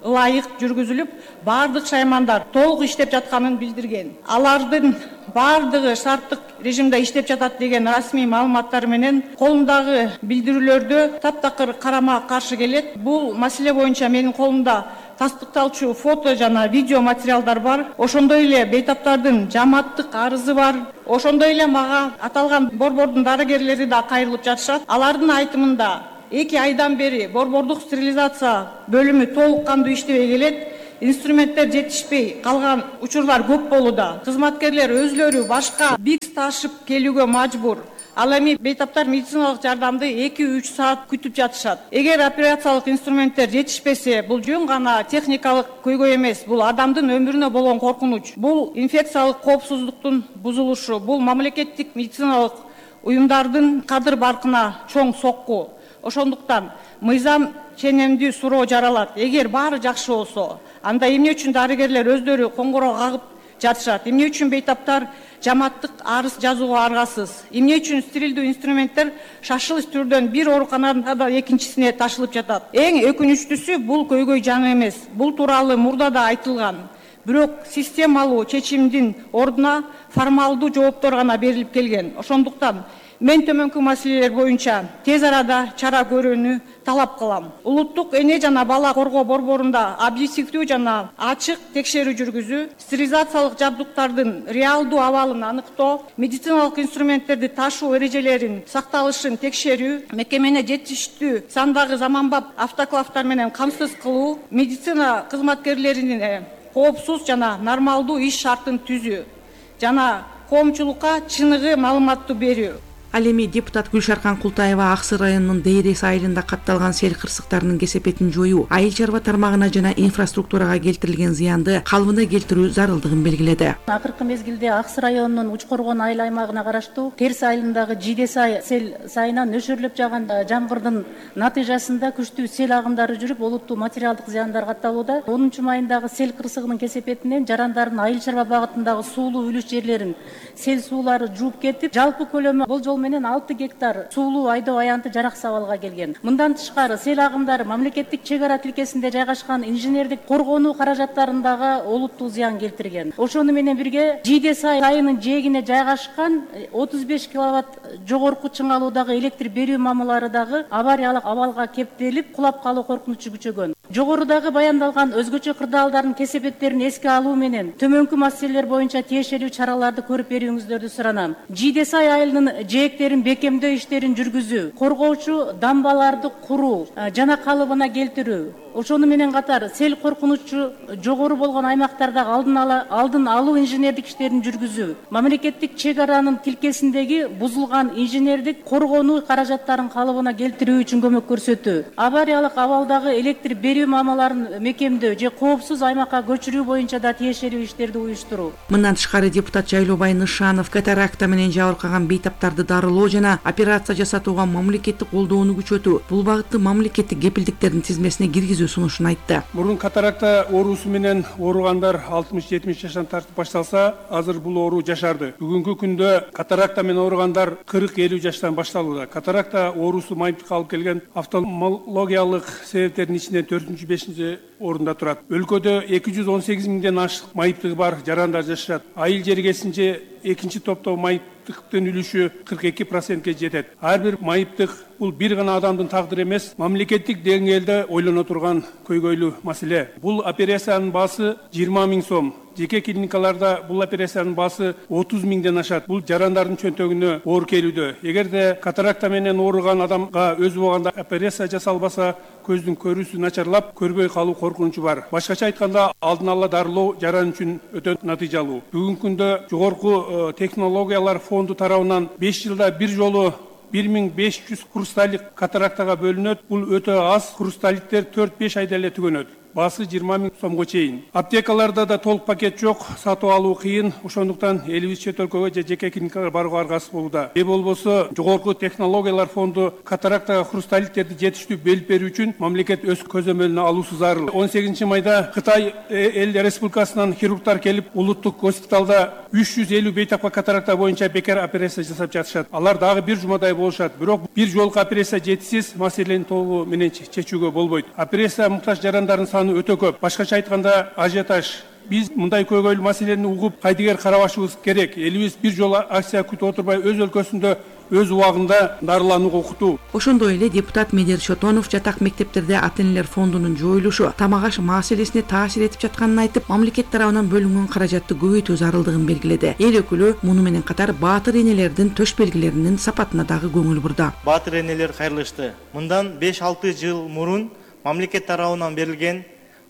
ылайык жүргүзүлүп, баардык шаймандар толук иштеп жатканын билдирген. Алардын баардыгы шарттык режимде иштеп жатат деген расмий маалыматтар менен колумдагы билдирүүлөрдө таптакыр карама каршы келет. Бул маселе боюнча менин колумда тастыкталчу фото жана видео материалдар бар. Ошондой эле бейтаптардын жамааттык арызы бар. Ошондой эле мага аталган борбордун дарыгерлери да кайрылып жатышат. Алардын айтымында 2 айдан бери борбордук стерилизация бөлүмү толук кандуу иштебей келет. Инструменттер жетишпей калган учурлар көп болууда. Кызматкерлер өзлөрү башка бикс ташып келүүгө мажбур. Ал эми бейтаптар медициналык жардамды 2-3 саат күтүп жатышат. Эгер операциялык инструменттер жетишпесе, бул жөн гана техникалык көйгөй эмес, бул адамдын өмүрүнө болгон коркунуч. Бул инфекциялык коопсуздуктун бузулушу, бул мамлекеттик медициналык уюмдардын кадыр баркына чоң сокку. Ошондуктан мыйзам ченемдүү суроо жаралат. Эгер баары жакшы болсо, анда эмне үчүн дарыгерлер өздөрү коңгуроо кагып жатышат? Эмне үчүн бейтаптар жамааттык арыз жазууга аргасыз? Эмне үчүн стерилдүү инструменттер шашылыш түрдөн бир ооруканадан экинчисине ташылып жатат? Эң өкүнүчтүүсү бул көйгөй жаңы эмес. Бул тууралуу мурда да айтылган. Бирок системалуу чечимдин ордуна формалдуу жооптор гана берилип келген. Ошондуктан мен төмөнкү маселелер боюнча тез арада чара көрүүнү талап кылам. Улуттук эне жана бала коргоо борборунда объективдүү жана ачык текшерүү жүргүзүү, стерилизациялык жабдыктардын реалдуу абалын аныктоо, медициналык инструменттерди ташуу эрежелерин сакталышын текшерүү, мекемени жетиштүү сандагы заманбап автоклавдар менен камсыз кылуу, медицина кызматкерлеринин коопсуз жана нормалдуу иш шартын түзүү жана коомчулукка чыныгы маалыматтуу берүү. Ал эми депутат Гүлшаркан Култаева Ак Сый районунун Дейрес айылында катталган сел кырсыктарынын кесепетин жоюу, айыл чарба тармагына жана инфраструктурага келтирилген зыянды калыбына келтирүү зарылдыгын белгиледи. Акыркы мезгилде Ак Сый районунун Учкоргон айыл аймагына караштуу Терс айылындагы Жидесай сел сайынан нөшөрлөп жааган жамгырдын натыйжасында күчтүү сел агымдары жүрүп, олуттуу материалдык зыяндар катталууда. 10 майындагы сел кырсыгынын кесепетинен жарандардын айыл чарба багытындагы суулуу үлүш жерлерин сел суулары жууп кетип, жалпы көлөмү болжол менен 6 гектар суулуу айдоо аянты жараксыз абалга келген. Мындан тышкары сел агымдары мамлекеттик чек ара тилкесинде жайгашкан инженердик коргонуу каражаттарындагы олуттуу зыян келтирген. Ошону менен бирге Жидесай айынын жээгине жайгашкан 35 киловатт жогорку чыңалуудагы электр берүү мамылары дагы авариялык абалга кептелип, кулап калуу коркунучу күчөгөн. Жогорудагы баяндалган өзгөчө кырдаалдардын кесепеттерин эске алуу менен төмөнкү маселелер боюнча тиешелүү чараларды көрүп берүүңүздөрдү суранам. Жидесай айылынын жээктерин бекемдөө иштерин жүргүзүү, коргоочу дамбаларды куруу жана калыбына келтирүү, ошону менен катар сел коркунучу жогору болгон аймактардагы алдын алуу инженердик иштерин жүргүзүү, мамлекеттик чек аранын тилкесиндеги бузулган инженердик коргонуу каражаттарын калыбына келтирүү үчүн көмөк көрсөтүү, авариялык абалдагы электр берүү мамаларын мекемдөө же коопсуз аймакка көчүрүү боюнча да тиешелүү иштерди уюштуруу. Мындан тышкары депутат Жайлообай Нышанов катаракта менен жабыркаган бейтаптарды дарылоо жана операция жасатууга мамлекеттик колдоону күчөтүү, бул багытты мамлекеттик кепилдиктердин тизмесине киргизүү сунушун айтты. Мурун катаракта оорусу менен ооругандар 60-70 жаштан тартып башталса, азыр бул оору жашарды. Бүгүнкү күндө катаракта менен ооругандар 40-50 жаштан башталууда. Катаракта оорусу майыптыкка алып келген офтальмологиялык себептердин ичинен 4-5 орунда турат. Өлкөдө 218 миңден ашык майыптыгы бар жарандар жашашат. Айыл жергесинче экинчи топто майыптыктын үлүшү 42%ке жетет. Ар бир майыптык бул бир гана адамдын тагдыры эмес, мамлекеттик деңгээлде ойлоно турган көйгөйлүү маселе. Бул операциянын баасы 20 миң сом. Жеке клиникаларда бул операциянын баасы 30 миңден ашат. Бул жарандардын чөнтөгүнө оор келүүдө. Эгерде катаракта менен ооруган адамга өзү болгондо операция жасалбаса, көздүн көрүүсү начарлап, көрбөй калуу коркунучу бар. Башкача айтканда, алдын ала дарылоо жаран үчүн өтө натыйжалуу. Бүгүнкү күндө жогорку технологиялар фонду тарабынан 5 жылда бир жолу 1500 хрусталик катарактага бөлүнөт. Бул өтө аз. Хрусталиктер 4-5 айда эле түгөнөт. Баасы 20 миң сомго чейин. Аптекаларда да толук пакет жок, сатып алуу кыйын. Ошондуктан элибиз чет өлкөгө же жеке клиникага барууга аргасыз болууда. Болбосо жогорку технологиялар фонду катарактага хрусталиттерди жетиштүү бөлүп берүү үчүн мамлекет өз көзөмөлүнө алуусу зарыл. 18 майда Кытай эл республикасынан хирургдар келип, улуттук госпиталда 350 бейтапка катаракта боюнча бекер операция жасап жатышат. Алар дагы бир жумадай болушат. Бирок бир жолку операция жетишсиз, маселени толугу менен чечүүгө болбойт. Операция муктаж жарандардын саны саны өтө көп. Башкача айтканда ажиотаж. Биз мындай көйгөйлүү маселени угуп, кайдыгер карабашыбыз керек. Элибиз бир жолу акция күтүп отурбай өз өлкөсүндө өз убагында дарыланууга укуктуу. Ошондой эле депутат Медер Шотонов жатак мектептерде ата-энелер фондунун жоюлушу тамак аш маселесине таасир этип жатканын айтып, мамлекет тарабынан бөлүнгөн каражатты көбөйтүү зарылдыгын белгиледи. Эл өкүлү муну менен катар баатыр энелердин төш белгилеринин сапатына дагы көңүл бурду. Баатыр энелер кайрылышты. Мындан 5-6 жыл мурун мамлекет тарабынан берилген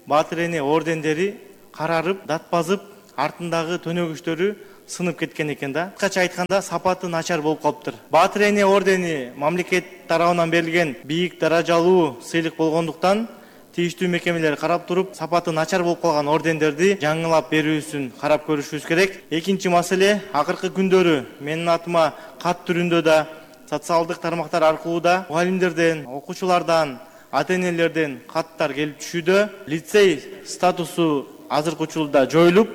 баатыр эне ордендери карарып, датпазып, артындагы төнөгүчтөрү сынып кеткен экен да. Кыскача айтканда сапаты начар болуп калыптыр. Баатыр эне ордени мамлекет тарабынан берилген бийик даражалуу сыйлык болгондуктан тийиштүү мекемелер карап туруп, сапаты начар болуп калган ордендерди жаңылап берүүсүн карап көрүшүбүз керек. Экинчи маселе, акыркы күндөрү менин атыма кат түрүндө да социалдык тармактар аркылуу да мугалимдерден, окуучулардан, ата-энелерден каттар келип түшүүдө. Лицей статусу азыркы учурда жоюлуп,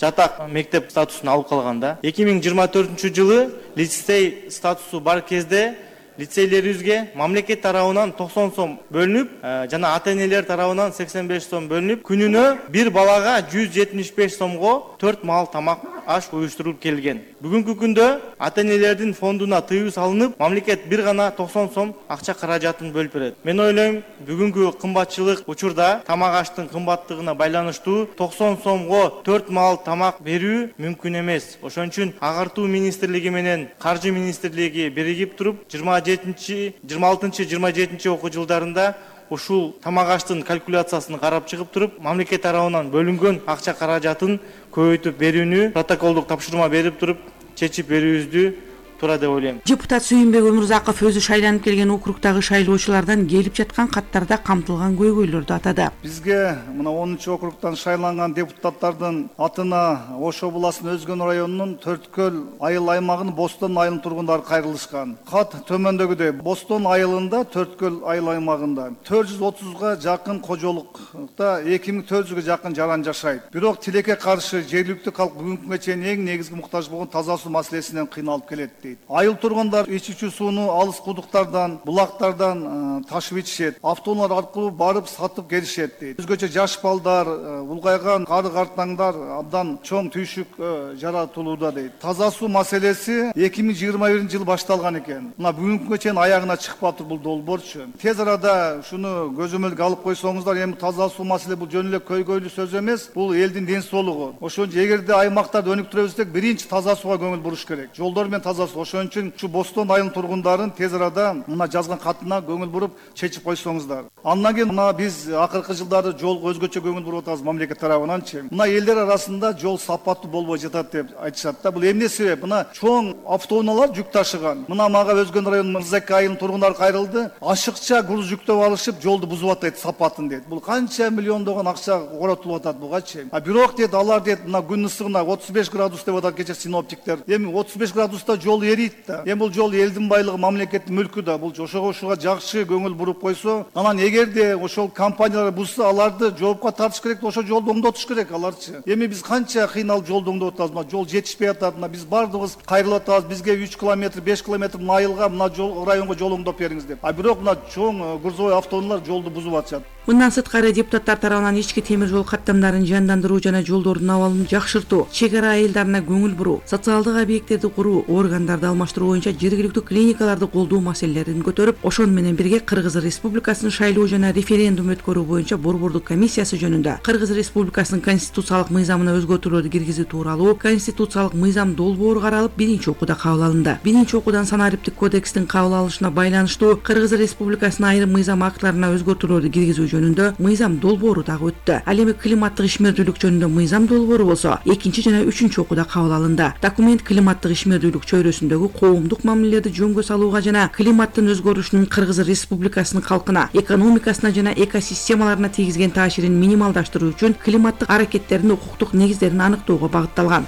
жатак мектеп статусун алып калганда. 2024 жылы лицей статусу бар кезде лицейлерибизге мамлекет тарабынан 90 сом бөлүнүп, жана ата-энелер тарабынан 85 сом бөлүнүп, күнүнө бир балага 175 сомго 4 маал тамак аш уюштурулуп келген. Бүгүнкү күндө ата-энелердин фондуна тыюу салынып, мамлекет бир гана 90 сом акча каражатын бөлүп берет. Мен ойлойм, бүгүнкү кымбатчылык учурда тамак аштын кымбаттыгына байланыштуу 90 сомго 4 маал тамак берүү мүмкүн эмес. Ошон үчүн Агартуу министрлиги менен Каржы министрлиги биригип туруп 26-27 окуу жылдарында ушул тамак аштын калькуляциясын карап чыгып туруп, мамлекет тарабынан бөлүнгөн акча каражатын көбөйтүп берүүнү протоколдук тапшырма берип туруп чечип берүүбүздү тура деп ойлойм. Депутат Сүйүнбек Өмүрзаков өзү шайланып келген округдагы шайлоочулардан келип жаткан каттарда камтылган көйгөйлөрдү атады. Бизге мына 10 округдан шайланган депутаттардын атына Ош областынын Өзгөн районунун Төрткөл айыл аймагынын Бостон айылынын тургундары кайрылышкан. Кат төмөндөгүдөй: Бостон айылында, Төрткөл айыл аймагында 430га жакын кожолукта 2400га жакын жаран жашайт. Бирок тилекке каршы жергиликтүү калк бүгүнкүгө чейин эң негизги муктаж болгон таза суу маселесинен кыйналып келет. Айыл тургундар ичүүчү сууну алыс кудуктардан, булактардан ташып ичишет. Автоунаа аркылуу барып сатып келишет дейт. Өзгөчө жаш балдар, улгайган кары-картаңдар абдан чоң түйшүк жаратылууда дейт. Таза суу маселеси 2021 жылы башталган экен. Мына бүгүнкүгө чейин аягына чыкпаптыр бул долбоорчу. Тез арада шуну көзөмөлгө алып койсоңуздар, эми таза суу маселе бул жөн эле көйгөйлүү сөз эмес, бул элдин ден соолугу. Ошон үчүн эгерде аймактарды өнүктүрөбүз десек, биринчи таза сууга көңүл буруш керек. Жолдор менен таза. Ошон үчүн ушу Бостон айылынын тургундарын тез арада мына жазган катына көңүл буруп чечип койсоңуздар. Андан кийин мына биз акыркы жылдары жолго өзгөчө көңүл буруп атабыз мамлекет тарабынанчы. Мына элдер арасында жол сапаттуу болбой жатат деп айтышат да. Бул эмне себеп? Мына чоң автоунаалар жүк ташыган. Мына мага Өзгөн районунун Мырзаке айылынын тургундары кайрылды. Ашыкча груз жүктөп алышып, жолду бузуп атат сапатын дейт. Бул канча миллиондогон акча коротулуп атат бугачы. Бирок дейт, алар дейт, мына күн ысыгына 35 градус деп атат кече синоптиктер. Эми 35 градуста жол эрийт да. Эми бул жол элдин байлыгы, мамлекеттин мүлкү да. Бул ошого жакшы көңүл буруп койсо, анан эгерде ошол компаниялар бузса, аларды жоопко тартыш керек, ошо жолду оңдотуш керек аларчы. Эми биз канча кыйналып жолду оңдоп атабыз, мына жол жетишпей атат, мына биз бардыгыбыз кайрылып атабыз. Бизге 3 километр, 5 километр мына айылга, мына жол районго жол оңдоп бериңиз деп. Бирок мына чоң грузовой автоунаалар жолду бузуп атышат. Мындан сырткары депутаттар тарабынан ички темир жол каттамдарын жандандыруу жана жолдордун абалын жакшыртуу, чек ара айылдарына көңүл буруу, социалдык объекттерди куруу, органдарды алмаштыруу боюнча жергиликтүү клиникаларды колдоо маселелерин көтөрүп, ошон менен бирге Кыргыз Республикасынын шайлоо жана референдум өткөрүү боюнча борбордук комиссиясы жөнүндө Кыргыз Республикасынын конституциялык мыйзамына өзгөртүүлөрдү киргизүү тууралуу конституциялык мыйзам долбоору каралып, биринчи окууда кабыл алынды. Биринчи окуудан санариптик кодекстин кабыл алынышына байланыштуу Кыргыз Республикасынын айрым мыйзам актларына өзгөртүүлөрдү киргизүү жөнүндө мыйзам долбоору дагы өттү. Ал эми климаттык ишмердүүлүк жөнүндө мыйзам долбоору болсо, экинчи жана үчүнчү окууда кабыл алынды. Документ климаттык ишмердүүлүк чөйрөсүндөгү коомдук мамилелерди жөнгө салууга жана климаттын өзгөрүшүнүн Кыргыз Республикасынын калкына, экономикасына жана экосистемаларына тийгизген таасирин минималдаштыруу үчүн климаттык аракеттердин укуктук негиздерин аныктоого багытталган.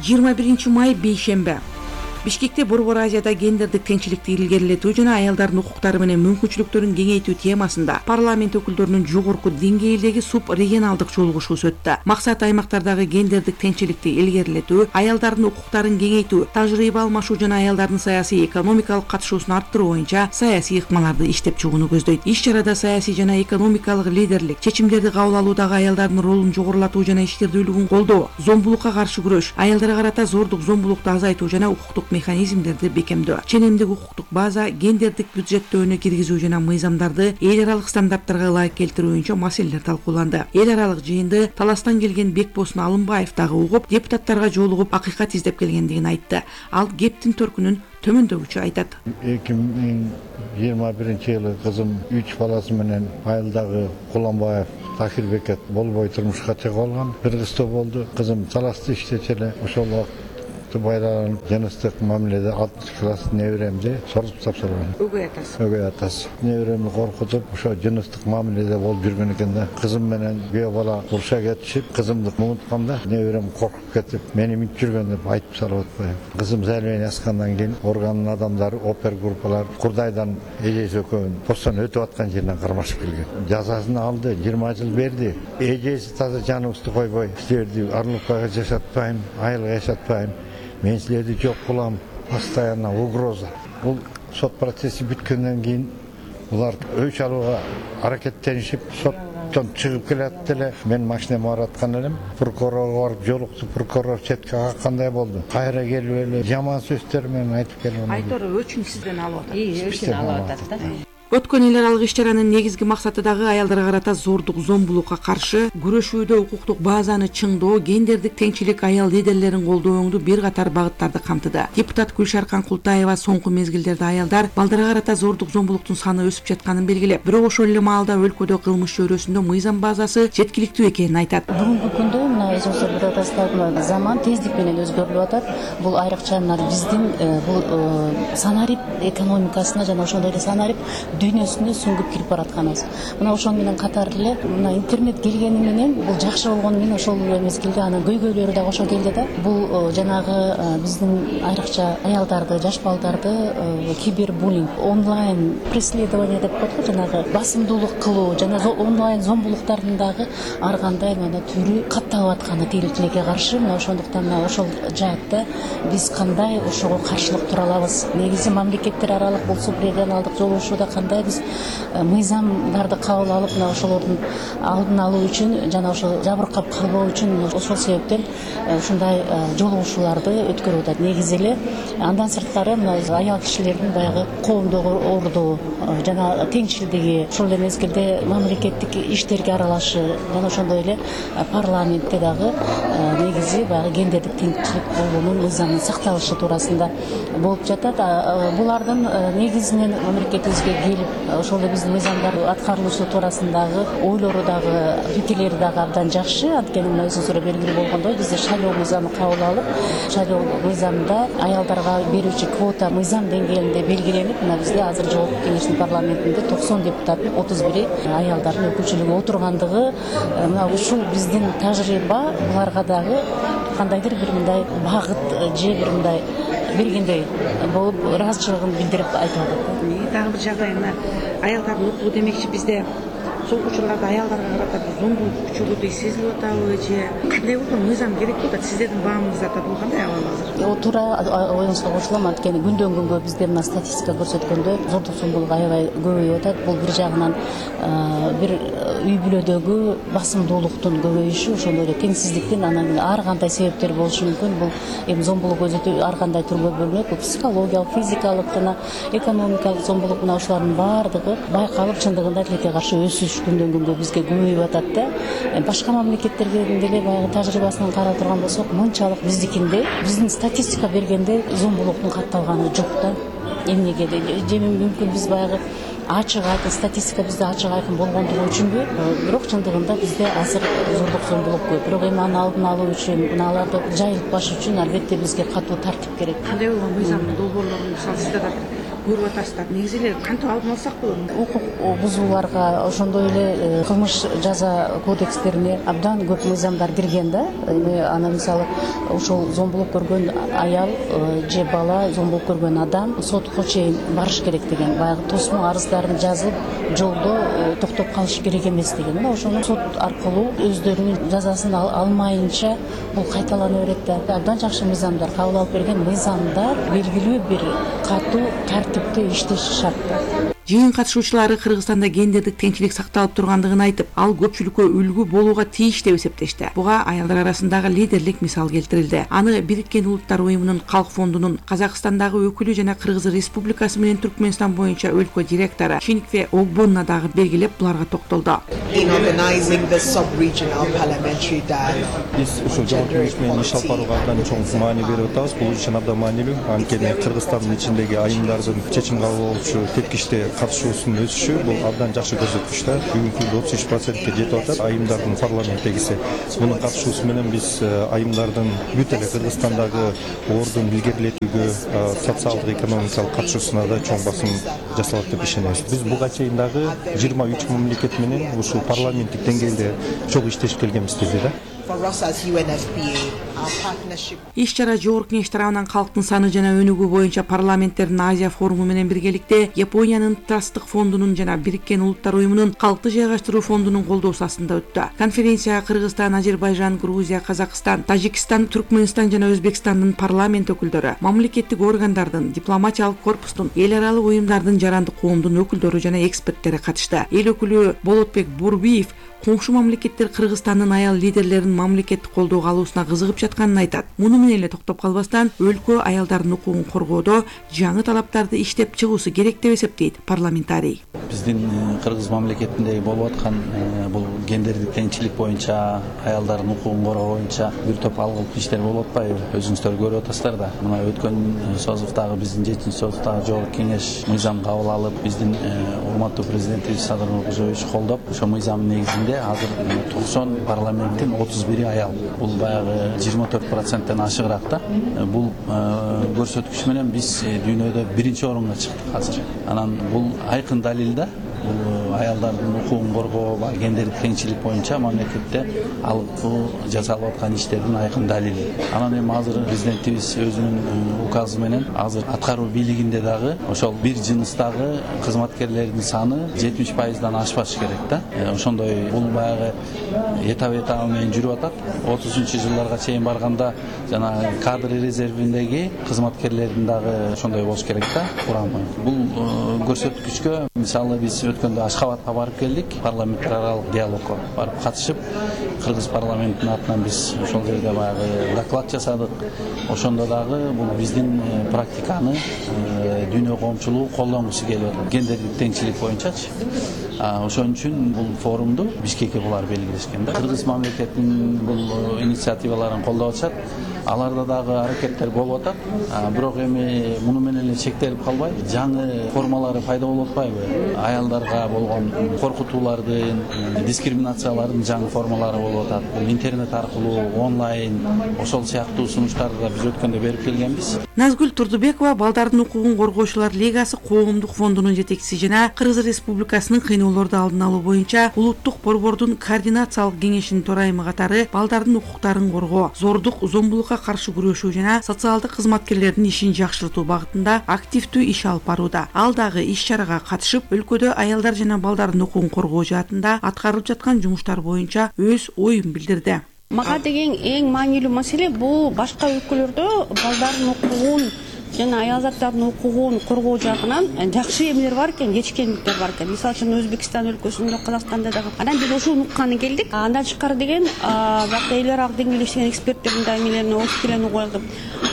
21 май бейшембе. Бишкекте Борбор Азияда гендердик теңчиликти илгерилетүү жана аялдардын укуктары менен мүмкүнчүлүктөрүн кеңейтүү темасында парламент өкүлдөрүнүн жогорку деңгээлдеги субрегионалдык жолугушуусу өттү. Максат аймактардагы гендердик теңчиликти илгерилетүү, аялдардын укуктарын кеңейтүү, тажрыйба алмашуу жана аялдардын саясий экономикалык катышуусун арттыруу боюнча саясий ыкмаларды иштеп чыгууну көздөйт. Иш-чарада саясий жана экономикалык лидерлик, чечимдерди кабыл алуудагы аялдардын ролун жогорулатуу жана ишкердүүлүгүн колдоо, зомбулукка каршы күрөш, аялдарга карата зордук зомбулукту азайтуу жана укуктук механизмдерди бекемдөө, ченемдик укуктук база, гендердик бюджеттөөнү киргизүү жана мыйзамдарды эл аралык стандарттарга ылайык келтирүү боюнча маселелер талкууланды. Эл аралык жыйынды Таластан келген Бекбосын Алымбаев дагы угуп, депутаттарга жолугуп акыйкат издеп келгендигин айтты. Ал кептин төркүнүн төмөндөгүчө айтат. 2021-жылы кызым 3 баласы менен Айылдагы Куланбаев Такирбекет болбой турмушка чыгып алган. Бир кызды болду. Кызым талашты иштечү эле. Ошол байланып жыныстык мамиледе 6 класс неберемди сорутуп тапшырган. Өгөй атасы. Неберемди коркутуп, ошо жыныстык мамиледе болуп жүргөн экен да. Кызым менен күйөө бала уруша кетишип, кызымды муунтканда неберем коркуп кетип, мени минтип жүргөн деп айтып салып атпайм. Кызым Зәлмен аскандан кийин органдын адамдары, опер группалар Курдайдан эжеси экөөнүн постон өтүп аткан жеринен кармашып келген. Жазасын алды, 20 жыл берди. Эжеси таза жаныбызды койбой, силерди Арлыкбайга жашатпайм, Айылга жашатпайм. Мен силерди жок кылам, постоянно угроза. Бул сот процесси бүткөндөн кийин булар өч алууга аракеттенишип, соттон чыгып келет эле. Мен машинеме бараткан элем. Прокурорго барып жолукту, прокурор четке каккандай болду. Кайра келип эле жаман сөздөр менен айтып келген. Айтор өчүн сизден алып атат. Өчүн алып атат да. Өткөн эл аралык иш-чаранын негизги максаты дагы аялдарга карата зордук, зомбулукка каршы күрөшүүдө укуктук базаны чыңдоо, гендердик теңчилик, аял лидерлерин колдооңду бир катар багыттарды камтыды. Депутат Гүлшаркан Култаева соңку мезгилдерде аялдар, балдарга карата зордук, зомбулуктун саны өсүп жатканын белгилеп, бирок ошол эле маалда өлкөдө кылмыш чөйрөсүндө мыйзам базасы жеткиликтүү экенин айтат. Бүгүнкү күндө мына өзүңүздөр билип атасыздар, заман тездик менен өзгөрүлүп атат. Бул айрыкча мына биздин бул санарип экономикасына жана ошондой эле санарип дүйнөсүнө сүңгүп кирип баратканыбыз. Мына ошол менен катар эле мына интернет келгени менен бул жакшы болгону менен ошол мезгилде анын көйгөйлөрү дагы ошо келди да. Бул жанагы биздин айрыкча аялдарды, жаш балдарды кибербуллинг, онлайн преследование деп коет го, жанагы басымдуулук кылуу жана онлайн зомбулуктардын дагы ар кандай мына түрү катталып атканы тилекке каршы. Мына ошондуктан мына ошол жаатта биз кандай ошого каршылык тура алабыз? Негизи мамлекеттер аралык бул субрегионалдык жолугушууда кандай биз мыйзамдарды кабыл алып, мына ошолордун алдын алуу үчүн жана ошол жабыркап калбоо үчүн ошол себептен ушундай жолугушууларды өткөрүп атат. Негизи эле андан сырткары мына аял кишилердин баягы коомдогу ордуу жана теңчилдиги, ошол эле мезгилде мамлекеттик иштерге аралашы жана ошондой эле парламентте дагы негизи баягы гендердик теңчилик болуунун мыйзамынын сакталышы туурасында болуп жатат. Булардын негизинен мамлекетибизге келип ошол эле биздин мыйзамдар аткарылышы туурасындагы ойлору дагы, пикирлери дагы абдан жакшы. Анткени мына өзүңүздөр белгилүү болгондой бизде шайлоо мыйзамы кабыл алып, шайлоо мыйзамында аялдарга берүүчү квота мыйзам деңгээлинде белгиленип, мына бизде азыр жогорку кеңештин парламентинде 90 депутаттын 31 аялдардын өкүлчүлүгү отургандыгы, мына ушул биздин тажрыйба буларга дагы кандайдыр бир мындай багыт же бир мындай бергендей болуп ыраазычылыгын билдирип айтып атат. Дагы бир жагдай мына аялдардын укугу демекчи bizde so'nggi учурларда аялдарга карата бир зомбулук күчөгөндөй сезилип атабы же кандай болду? Мыйзам керек болуп атат. Сиздердин баамыңызда бул кандай абал азыр? Туура оюңузга кошулам. Анткени күндөн күнгө бизде мына статистика көрсөткөндөй зордук зомбулук аябай көбөйүп атат. Бул бир жагынан бир үй бүлөдөгү басымдуулуктун көбөйүшү, ошондой эле теңсиздиктин анан ар кандай себептер болушу мүмкүн. Бул эми зомбулук өзү ар кандай түргө бөлүнөт. Бул психологиялык, физикалык жана экономикалык зомбулук, мына ошолордун баардыгы байкалып чындыгында тилекке каршы өсүш күндөн күнгө бизге көбөйүп атат да. Башка мамлекеттердин деле баягы тажрыйбасынан карап турган болсок, мынчалык биздикинде, биздин статистика бергенде зомбулуктун катталганы жок да. Эмнеге же мүмкүн биз баягы ачык айкын статистика бизде ачык айкын болгондугу үчүнбү, бирок чындыгында бизде азыр зордук зомбулук көп. Бирок эми аны алдын алуу үчүн, аларды жайылтпаш үчүн албетте бизге катуу тартип керек. Кандай болгон мыйзамдын долбоорлорун мисалы сиздер көрүп атасыздар. Негизи эле кантип алдын алсак болот? Укук бузууларга, ошондой эле кылмыш жаза кодекстерине абдан көп мыйзамдар кирген да. Эми аны мисалы ошол зомбулук көргөн аял же бала, зомбулук көргөн адам сотко чейин барыш керек деген, баягы тосмо арыздарын жазып, жолдо токтоп калыш керек эмес деген да. Ошону сот аркылуу өздөрүнүн жазасын алмайынча бул кайталана берет да. Абдан жакшы мыйзамдар кабыл алып берген, мыйзамдар белгилүү бир катуу тартипте иштеши шарт. Жыйын катышуучулары Кыргызстанда гендердик теңчилик сакталып тургандыгын айтып, ал көпчүлүккө үлгү болууга тийиш деп эсептешти. Буга аялдар арасындагы лидерлик мисал келтирилди. Аны Бириккен Улуттар уюмунун Калк фондунун Казакстандагы өкүлү жана Кыргыз Республикасы менен Түркмөнстан боюнча өлкө директору Шиникве Огбонна дагы белгилеп, буларга токтолду. Биз ушул жогорку кеңеш менен иш алып барууга абдан чоң маани берип атабыз. Бул үчүн абдан маанилүү. Анткени Кыргызстандын ичиндеги айымдардын чечим кабыл алуучу тепкичте катышуусунун өсүшү бул абдан жакшы көрсөткүч да. Бүгүнкү күндө 33%ке жетип атат айымдардын парламенттегиси. Мунун катышуусу менен биз айымдардын бүт эле Кыргызстандагы ордун илгерилетүүгө, социалдык экономикалык катышуусуна да чоң басым жасалат деп ишенебиз. Биз буга чейин дагы 23 мамлекет менен ушул парламенттик деңгээлде чогуу иштешип келгенбиз бизде да. Иш-чара жогорку кеңеш тарабынан калктын саны жана өнүгүү боюнча парламенттердин Азия форуму менен биргеликте Япониянын Трасттык фондунун жана Бириккен Улуттар уюмунун калкты жайгаштыруу фондунун колдоосу астында өттү. Конференцияга Кыргызстан, Азербайжан, Грузия, Казакстан, Тажикстан, Түркмөнстан жана Өзбекстандын парламент өкүлдөрү, мамлекеттик органдардын, дипломатиялык корпустун, эл аралык уюмдардын, жарандык коомдун өкүлдөрү жана эксперттери катышты. Эл өкүлү Болотбек Бурбиев коңшу мамлекеттер Кыргызстандын аял лидерлеринин мамлекеттик колдоого алуусуна кызыгып жатканын айтат. Муну менен эле токтоп калбастан, өлкө аялдардын укугун коргоодо жаңы талаптарды иштеп чыгуусу керек деп эсептейт парламентарий. Биздин Кыргыз мамлекетинде болуп аткан бул гендердик теңчилик боюнча, аялдардын укугун коргоо боюнча бир топ алгылык иштер болуп атпайбы? Өзүңүздөр көрүп атасыздар да. Мына өткөн созуктагы биздин 7-созуктагы жогорку кеңеш мыйзам кабыл алып, биздин урматтуу президентибиз Садыр Нуркожоевич колдоп, ошо мыйзамдын негизинде азыр 90 парламенттин 31 аял. Бул баягы 24%тен ашыгыраак да. Бул көрсөткүч менен биз дүйнөдө биринчи орунга чыктык азыр. Анан бул айкын далил да. Бул аялдардын укугун коргоо, гендердик теңчилик боюнча мамлекетте алгы жасалып аткан иштердин айкын далили. Анан эми азыр президентибиз өзүнүн указы менен азыр аткаруу бийлигинде дагы ошол бир жыныстагы кызматкерлердин саны 70%дан ашпаш керек да. Ошондой бул баягы этап менен жүрүп атат. 30-жылдарга чейин барганда жана кадр резервиндеги кызматкерлердин дагы ошондой болуш керек да курамы. Бул көрсөткүчкө мисалы биз өткөндө Ашхабадка барып келдик, парламенттер аралык диалогко барып катышып, Кыргыз парламентинин атынан биз ошол жерде баягы доклад жасадык. Ошондо дагы бул биздин практиканы дүйнө коомчулугу колдонгусу келип атат. Гендердик теңчилик боюнчачы. Ошон үчүн бул форумду Бишкекке булар белгилешкен да. Кыргыз мамлекетинин бул инициативаларын колдоп атышат. Аларда дагы аракеттер болуп атат. Бирок эми муну менен эле чектелип калбай, жаңы формалары пайда болуп атпайбы? Аялдарга болгон коркутуулардын, дискриминациялардын жаңы формалары болуп атат. Бул интернет аркылуу, онлайн, ошол сыяктуу сунуштарды биз өткөндө берип келгенбиз. Назгүл Турдубекова Балдардын укугун коргоочулар лигасы коомдук фондунун жетекчиси жана Кыргыз Республикасынын кыйноолорду алдын алуу боюнча улуттук борбордун координациялык кеңешинин төрайымы катары балдардын укуктарын коргоо, зордук, зомбулукка каршы күрөшүү жана социалдык кызматкерлердин ишин жакшыртуу багытында активдүү иш алып барууда. Ал дагы иш-чарага катышып, өлкөдө аялдар жана балдардын укугун коргоо жаатында аткарылып жаткан жумуштар боюнча өз оюн билдирди. Мага деген эң маанилүү маселе бул башка өлкөлөрдө балдардын укугун жана аялзаттардын укугун коргоо жагынан жакшы эмелер бар экен, жетишкендиктер бар экен. Мисалы үчүн Өзбекстан өлкөсүндө, Казакстанда дагы. Анан биз ошону укканы келдик. Андан тышкары деген бакта эл аралык деңгээлде иштеген эксперттердин да эмелерине окуп келени коюлду.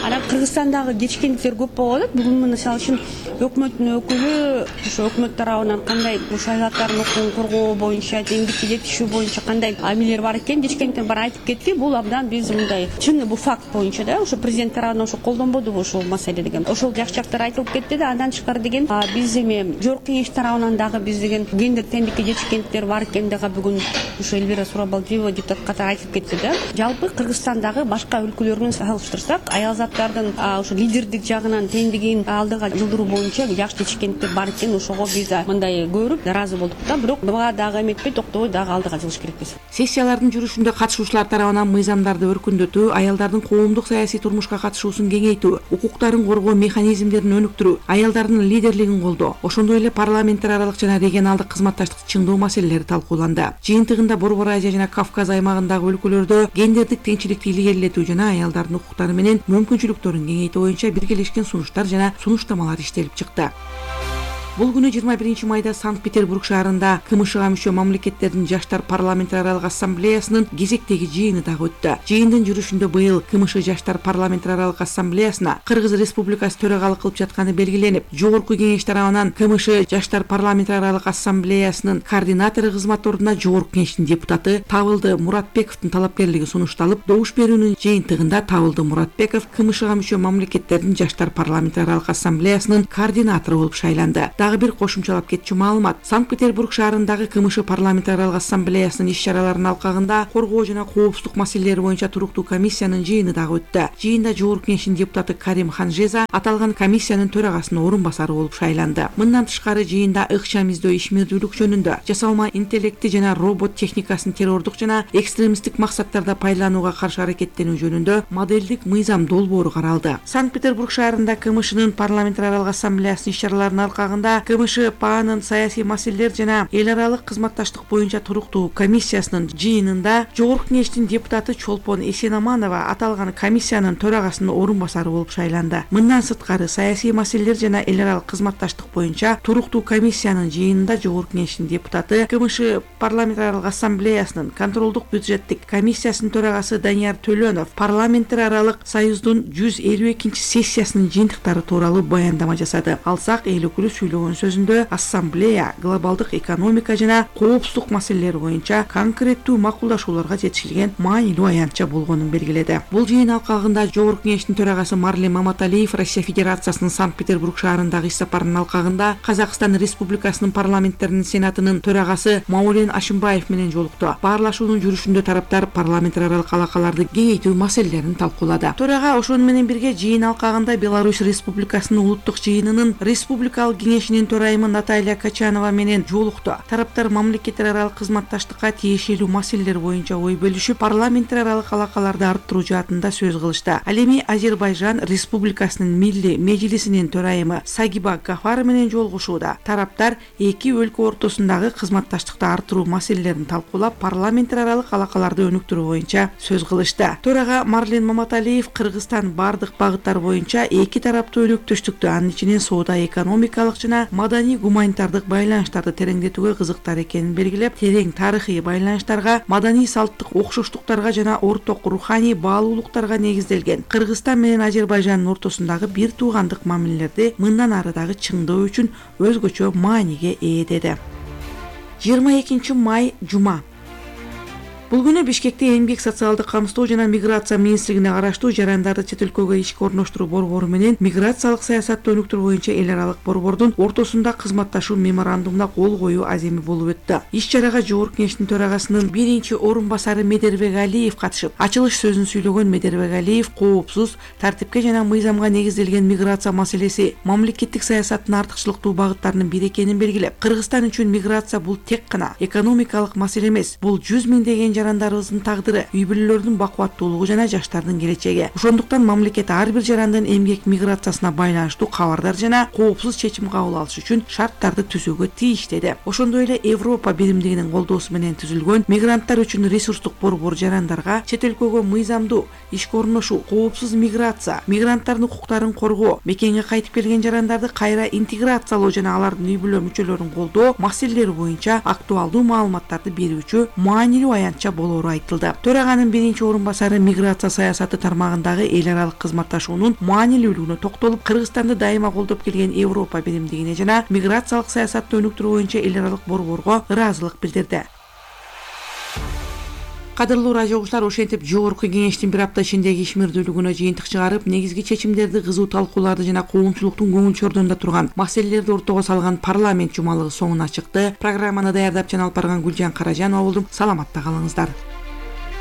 Анан Кыргызстандагы жетишкендиктер көп болуп атат. Бүгүн мисалы үчүн өкмөттүн өкүлү ошо өкмөт тарабынан кандай ушул аялзаттардын укугун коргоо боюнча, теңдикке жетишүү боюнча кандай амилер бар экен, жетишкендиктер бар айтып кетти. Бул абдан биз мындай чын бул факт боюнча да ошо президент тарабынан ошо колдонбодубу ушул маселеде. деген ошол жакшы жактар айтылып кетти да. Андан тышкары деген биз эми жогорку кеңеш тарабынан дагы биз деген гендер теңдикке жетишкендиктер бар экен дагы бүгүн ушу Эльвира Сурабалдиева депутат катары айтып кетти да. Жалпы Кыргызстандагы башка өлкөлөр менен салыштырсак, аял заттардын ушу лидердик жагынан теңдигин алдыга жылдыруу боюнча жакшы жетишкендиктер бар экен. Ошого биз мындай көрүп ыраазы болдук да. Бирок буга дагы эметпей токтобой дагы алдыга жылыш керекпиз. Сессиялардын жүрүшүндө катышуучулар тарабынан мыйзамдарды өркүндөтүү, аялдардын коомдук саясий турмушка катышуусун кеңейтүү, укуктарын коргоо механизмдерин өнүктүрүү, аялдардын лидерлигин колдоо, ошондой эле парламенттер аралык жана регионалдык кызматташтыкты чыңдоо маселелери талкууланды. Жыйынтыгында Борбор Азия жана Кавказ аймагындагы өлкөлөрдө гендердик теңчиликти илгерилетүү жана аялдардын укуктары менен мүмкүнчүлүктөрүн кеңейтүү боюнча биргелешкен сунуштар жана сунуштамалар иштелип чыкты. Бул күнү 21 майда Санкт-Петербург шаарында КМШга мүчө мамлекеттердин жаштар парламенттер аралык ассамблеясынын кезектеги жыйыны дагы өттү. Жыйындын жүрүшүндө быйыл КМШ жаштар парламенттер аралык ассамблеясына Кыргыз Республикасы төрагалык кылып жатканы белгиленип, жогорку кеңеш тарабынан КМШ жаштар парламенттер аралык ассамблеясынын координатору кызмат ордуна жогорку кеңештин депутаты Табылды Муратбековдун талапкерлиги сунушталып, добуш берүүнүн жыйынтыгында Табылды Муратбеков КМШга мүчө мамлекеттердин жаштар парламенттер аралык ассамблеясынын координатору болуп шайланды. Дагы бир кошумчалап кетчү маалымат. Санкт-Петербург шаарындагы КМШ парламенттер аралык ассамблеясынын иш-чараларынын алкагында коргоо жана коопсуздук маселелери боюнча туруктуу комиссиянын жыйыны дагы өттү. Жыйында жогорку кеңештин депутаты Карим Ханжеза аталган комиссиянын төрагасынын орун басары болуп шайланды. Мындан тышкары жыйында ыкчам издөө ишмердүүлүк жөнүндө, жасалма интеллекти жана робот техникасын террордук жана экстремисттик максаттарда пайдаланууга каршы аракеттенүү жөнүндө модельдик мыйзам долбоору каралды. Санкт-Петербург шаарында КМШнын парламенттер аралык ассамблеясынын иш-чараларынын алкагында КМШ ПАанын саясий маселелер жана эл аралык кызматташтык боюнча туруктуу комиссиясынын жыйынында жогорку кеңештин депутаты Чолпон Эсенаманова аталган комиссиянын төрагасынын орун басары болуп шайланды. Мындан сырткары саясий маселелер жана эл аралык кызматташтык боюнча туруктуу комиссиянын жыйынында жогорку кеңештин депутаты КМШ парламенттер аралык ассамблеясынын контролдук бюджеттик комиссиясынын төрагасы Данияр Төлөнов парламенттер аралык союздун 152 сессиясынын жыйынтыктары тууралуу баяндама жасады. Алсак эл өкүлү сүйлөгөн сөзүндө ассамблея глобалдык экономика жана коопсуздук маселелери боюнча конкреттүү макулдашууларга жетишилген маанилүү аянтча болгонун белгиледи. Бул жыйын алкагында жогорку кеңештин төрагасы Марлен Маматалиев Россия Федерациясынын Санкт-Петербург шаарындагы иш сапарынын алкагында Казакстан Республикасынын парламенттеринин сенатынын төрагасы Маулен Ашимбаев менен жолукту. Баарлашуунун жүрүшүндө тараптар парламенттер аралык алакаларды кеңейтүү маселелерин талкуулады. Төрага ошону менен бирге жыйын алкагында Беларусь Республикасынын улуттук жыйынынын республикалык кеңешинин төрайымы Наталья Качанова менен жолукту. Тараптар мамлекеттер аралык кызматташтыкка тиешелүү маселелер боюнча ой бөлүшүп, парламенттер аралык алакаларды арттыруу жаатында сөз кылышты. Ал эми Азербайжан Республикасынын Милли Мejlisинин төрайымы Сагиба Гафар менен жолугушууда. Тараптар эки өлкө ортосундагы кызматташтыкты арттыруу маселелерин талкуулап, парламенттер аралык алакаларды өнүктүрүү боюнча сөз кылышты. Төрага Марлен Маматалиев Кыргызстан бардык багыттар боюнча эки тараптуу өнөктөштүктү, анын ичинен соода экономикалык жана маданий гуманитардык байланыштарды тереңдетүүгө кызыктар экенин белгилеп, терең тарыхый байланыштарга, маданий салттык окшоштуктарга жана орток руханий баалуулуктарга негизделген Кыргызстан менен Азербайжандын ортосундагы бир туугандык мамилелерди мындан ары дагы чыңдоо үчүн өзгөчө мааниге ээ деди. 22 май жума. Бул күнү Бишкекте Эмгек социалдык камсыздоо жана миграция министрлигине караштуу жарандарды чет өлкөгө ишке орноштуруу борбору менен миграциялык саясатты өнүктүрүү боюнча эл аралык борбордун ортосунда кызматташуу меморандумуна кол коюу аземи болуп өттү. Иш-чарага жогорку кеңештин төрагасынын биринчи орун басары Медербек Алиев катышып, ачылыш сөзүн сүйлөгөн Медербек Алиев коопсуз, тартипке жана мыйзамга негизделген миграция маселеси мамлекеттик саясаттын артыкчылыктуу багыттарынын бири экенин белгилеп, Кыргызстан үчүн миграция бул тек гана экономикалык маселе эмес, бул 100 миңдеген жарандарыбыздын тагдыры, үй бүлөлөрдүн бакубаттуулугу жана жаштардын келечеги. Ошондуктан мамлекет ар бир жарандын эмгек миграциясына байланыштуу кабардар жана коопсуз чечим кабыл алыш үчүн шарттарды түзүүгө тийиш деди. Ошондой эле Европа биримдигинин колдоосу менен түзүлгөн мигранттар үчүн ресурстук борбор жарандарга чет өлкөгө мыйзамдуу ишке орношуу, коопсуз миграция, мигранттардын укуктарын коргоо, мекенге кайтып келген жарандарды кайра интеграциялоо жана алардын үй бүлө мүчөлөрүн колдоо маселелери боюнча актуалдуу маалыматтарды берүүчү маанилүү аянтча болоору айтылды. Төраганын биринчи орун басары миграция саясаты тармагындагы эл аралык кызматташуунун маанилүүлүгүнө токтолуп, Кыргызстанды дайыма колдоп келген Европа биримдигине жана миграциялык саясатты өнүктүрүү боюнча эл аралык борборго ыраазылык билдирди. Кадырлуу радио угуучулар, ошентип жогорку кеңештин бир апта ичиндеги ишмердүүлүгүнө жыйынтык чыгарып, негизги чечимдерди, кызуу талкууларды жана коомчулуктун көңүл чордонунда турган маселелерди ортого салган парламент жумалыгы соңуна чыкты. Программаны даярдап жана алып барган Гүлжан Каражанова болдум. Саламатта калыңыздар.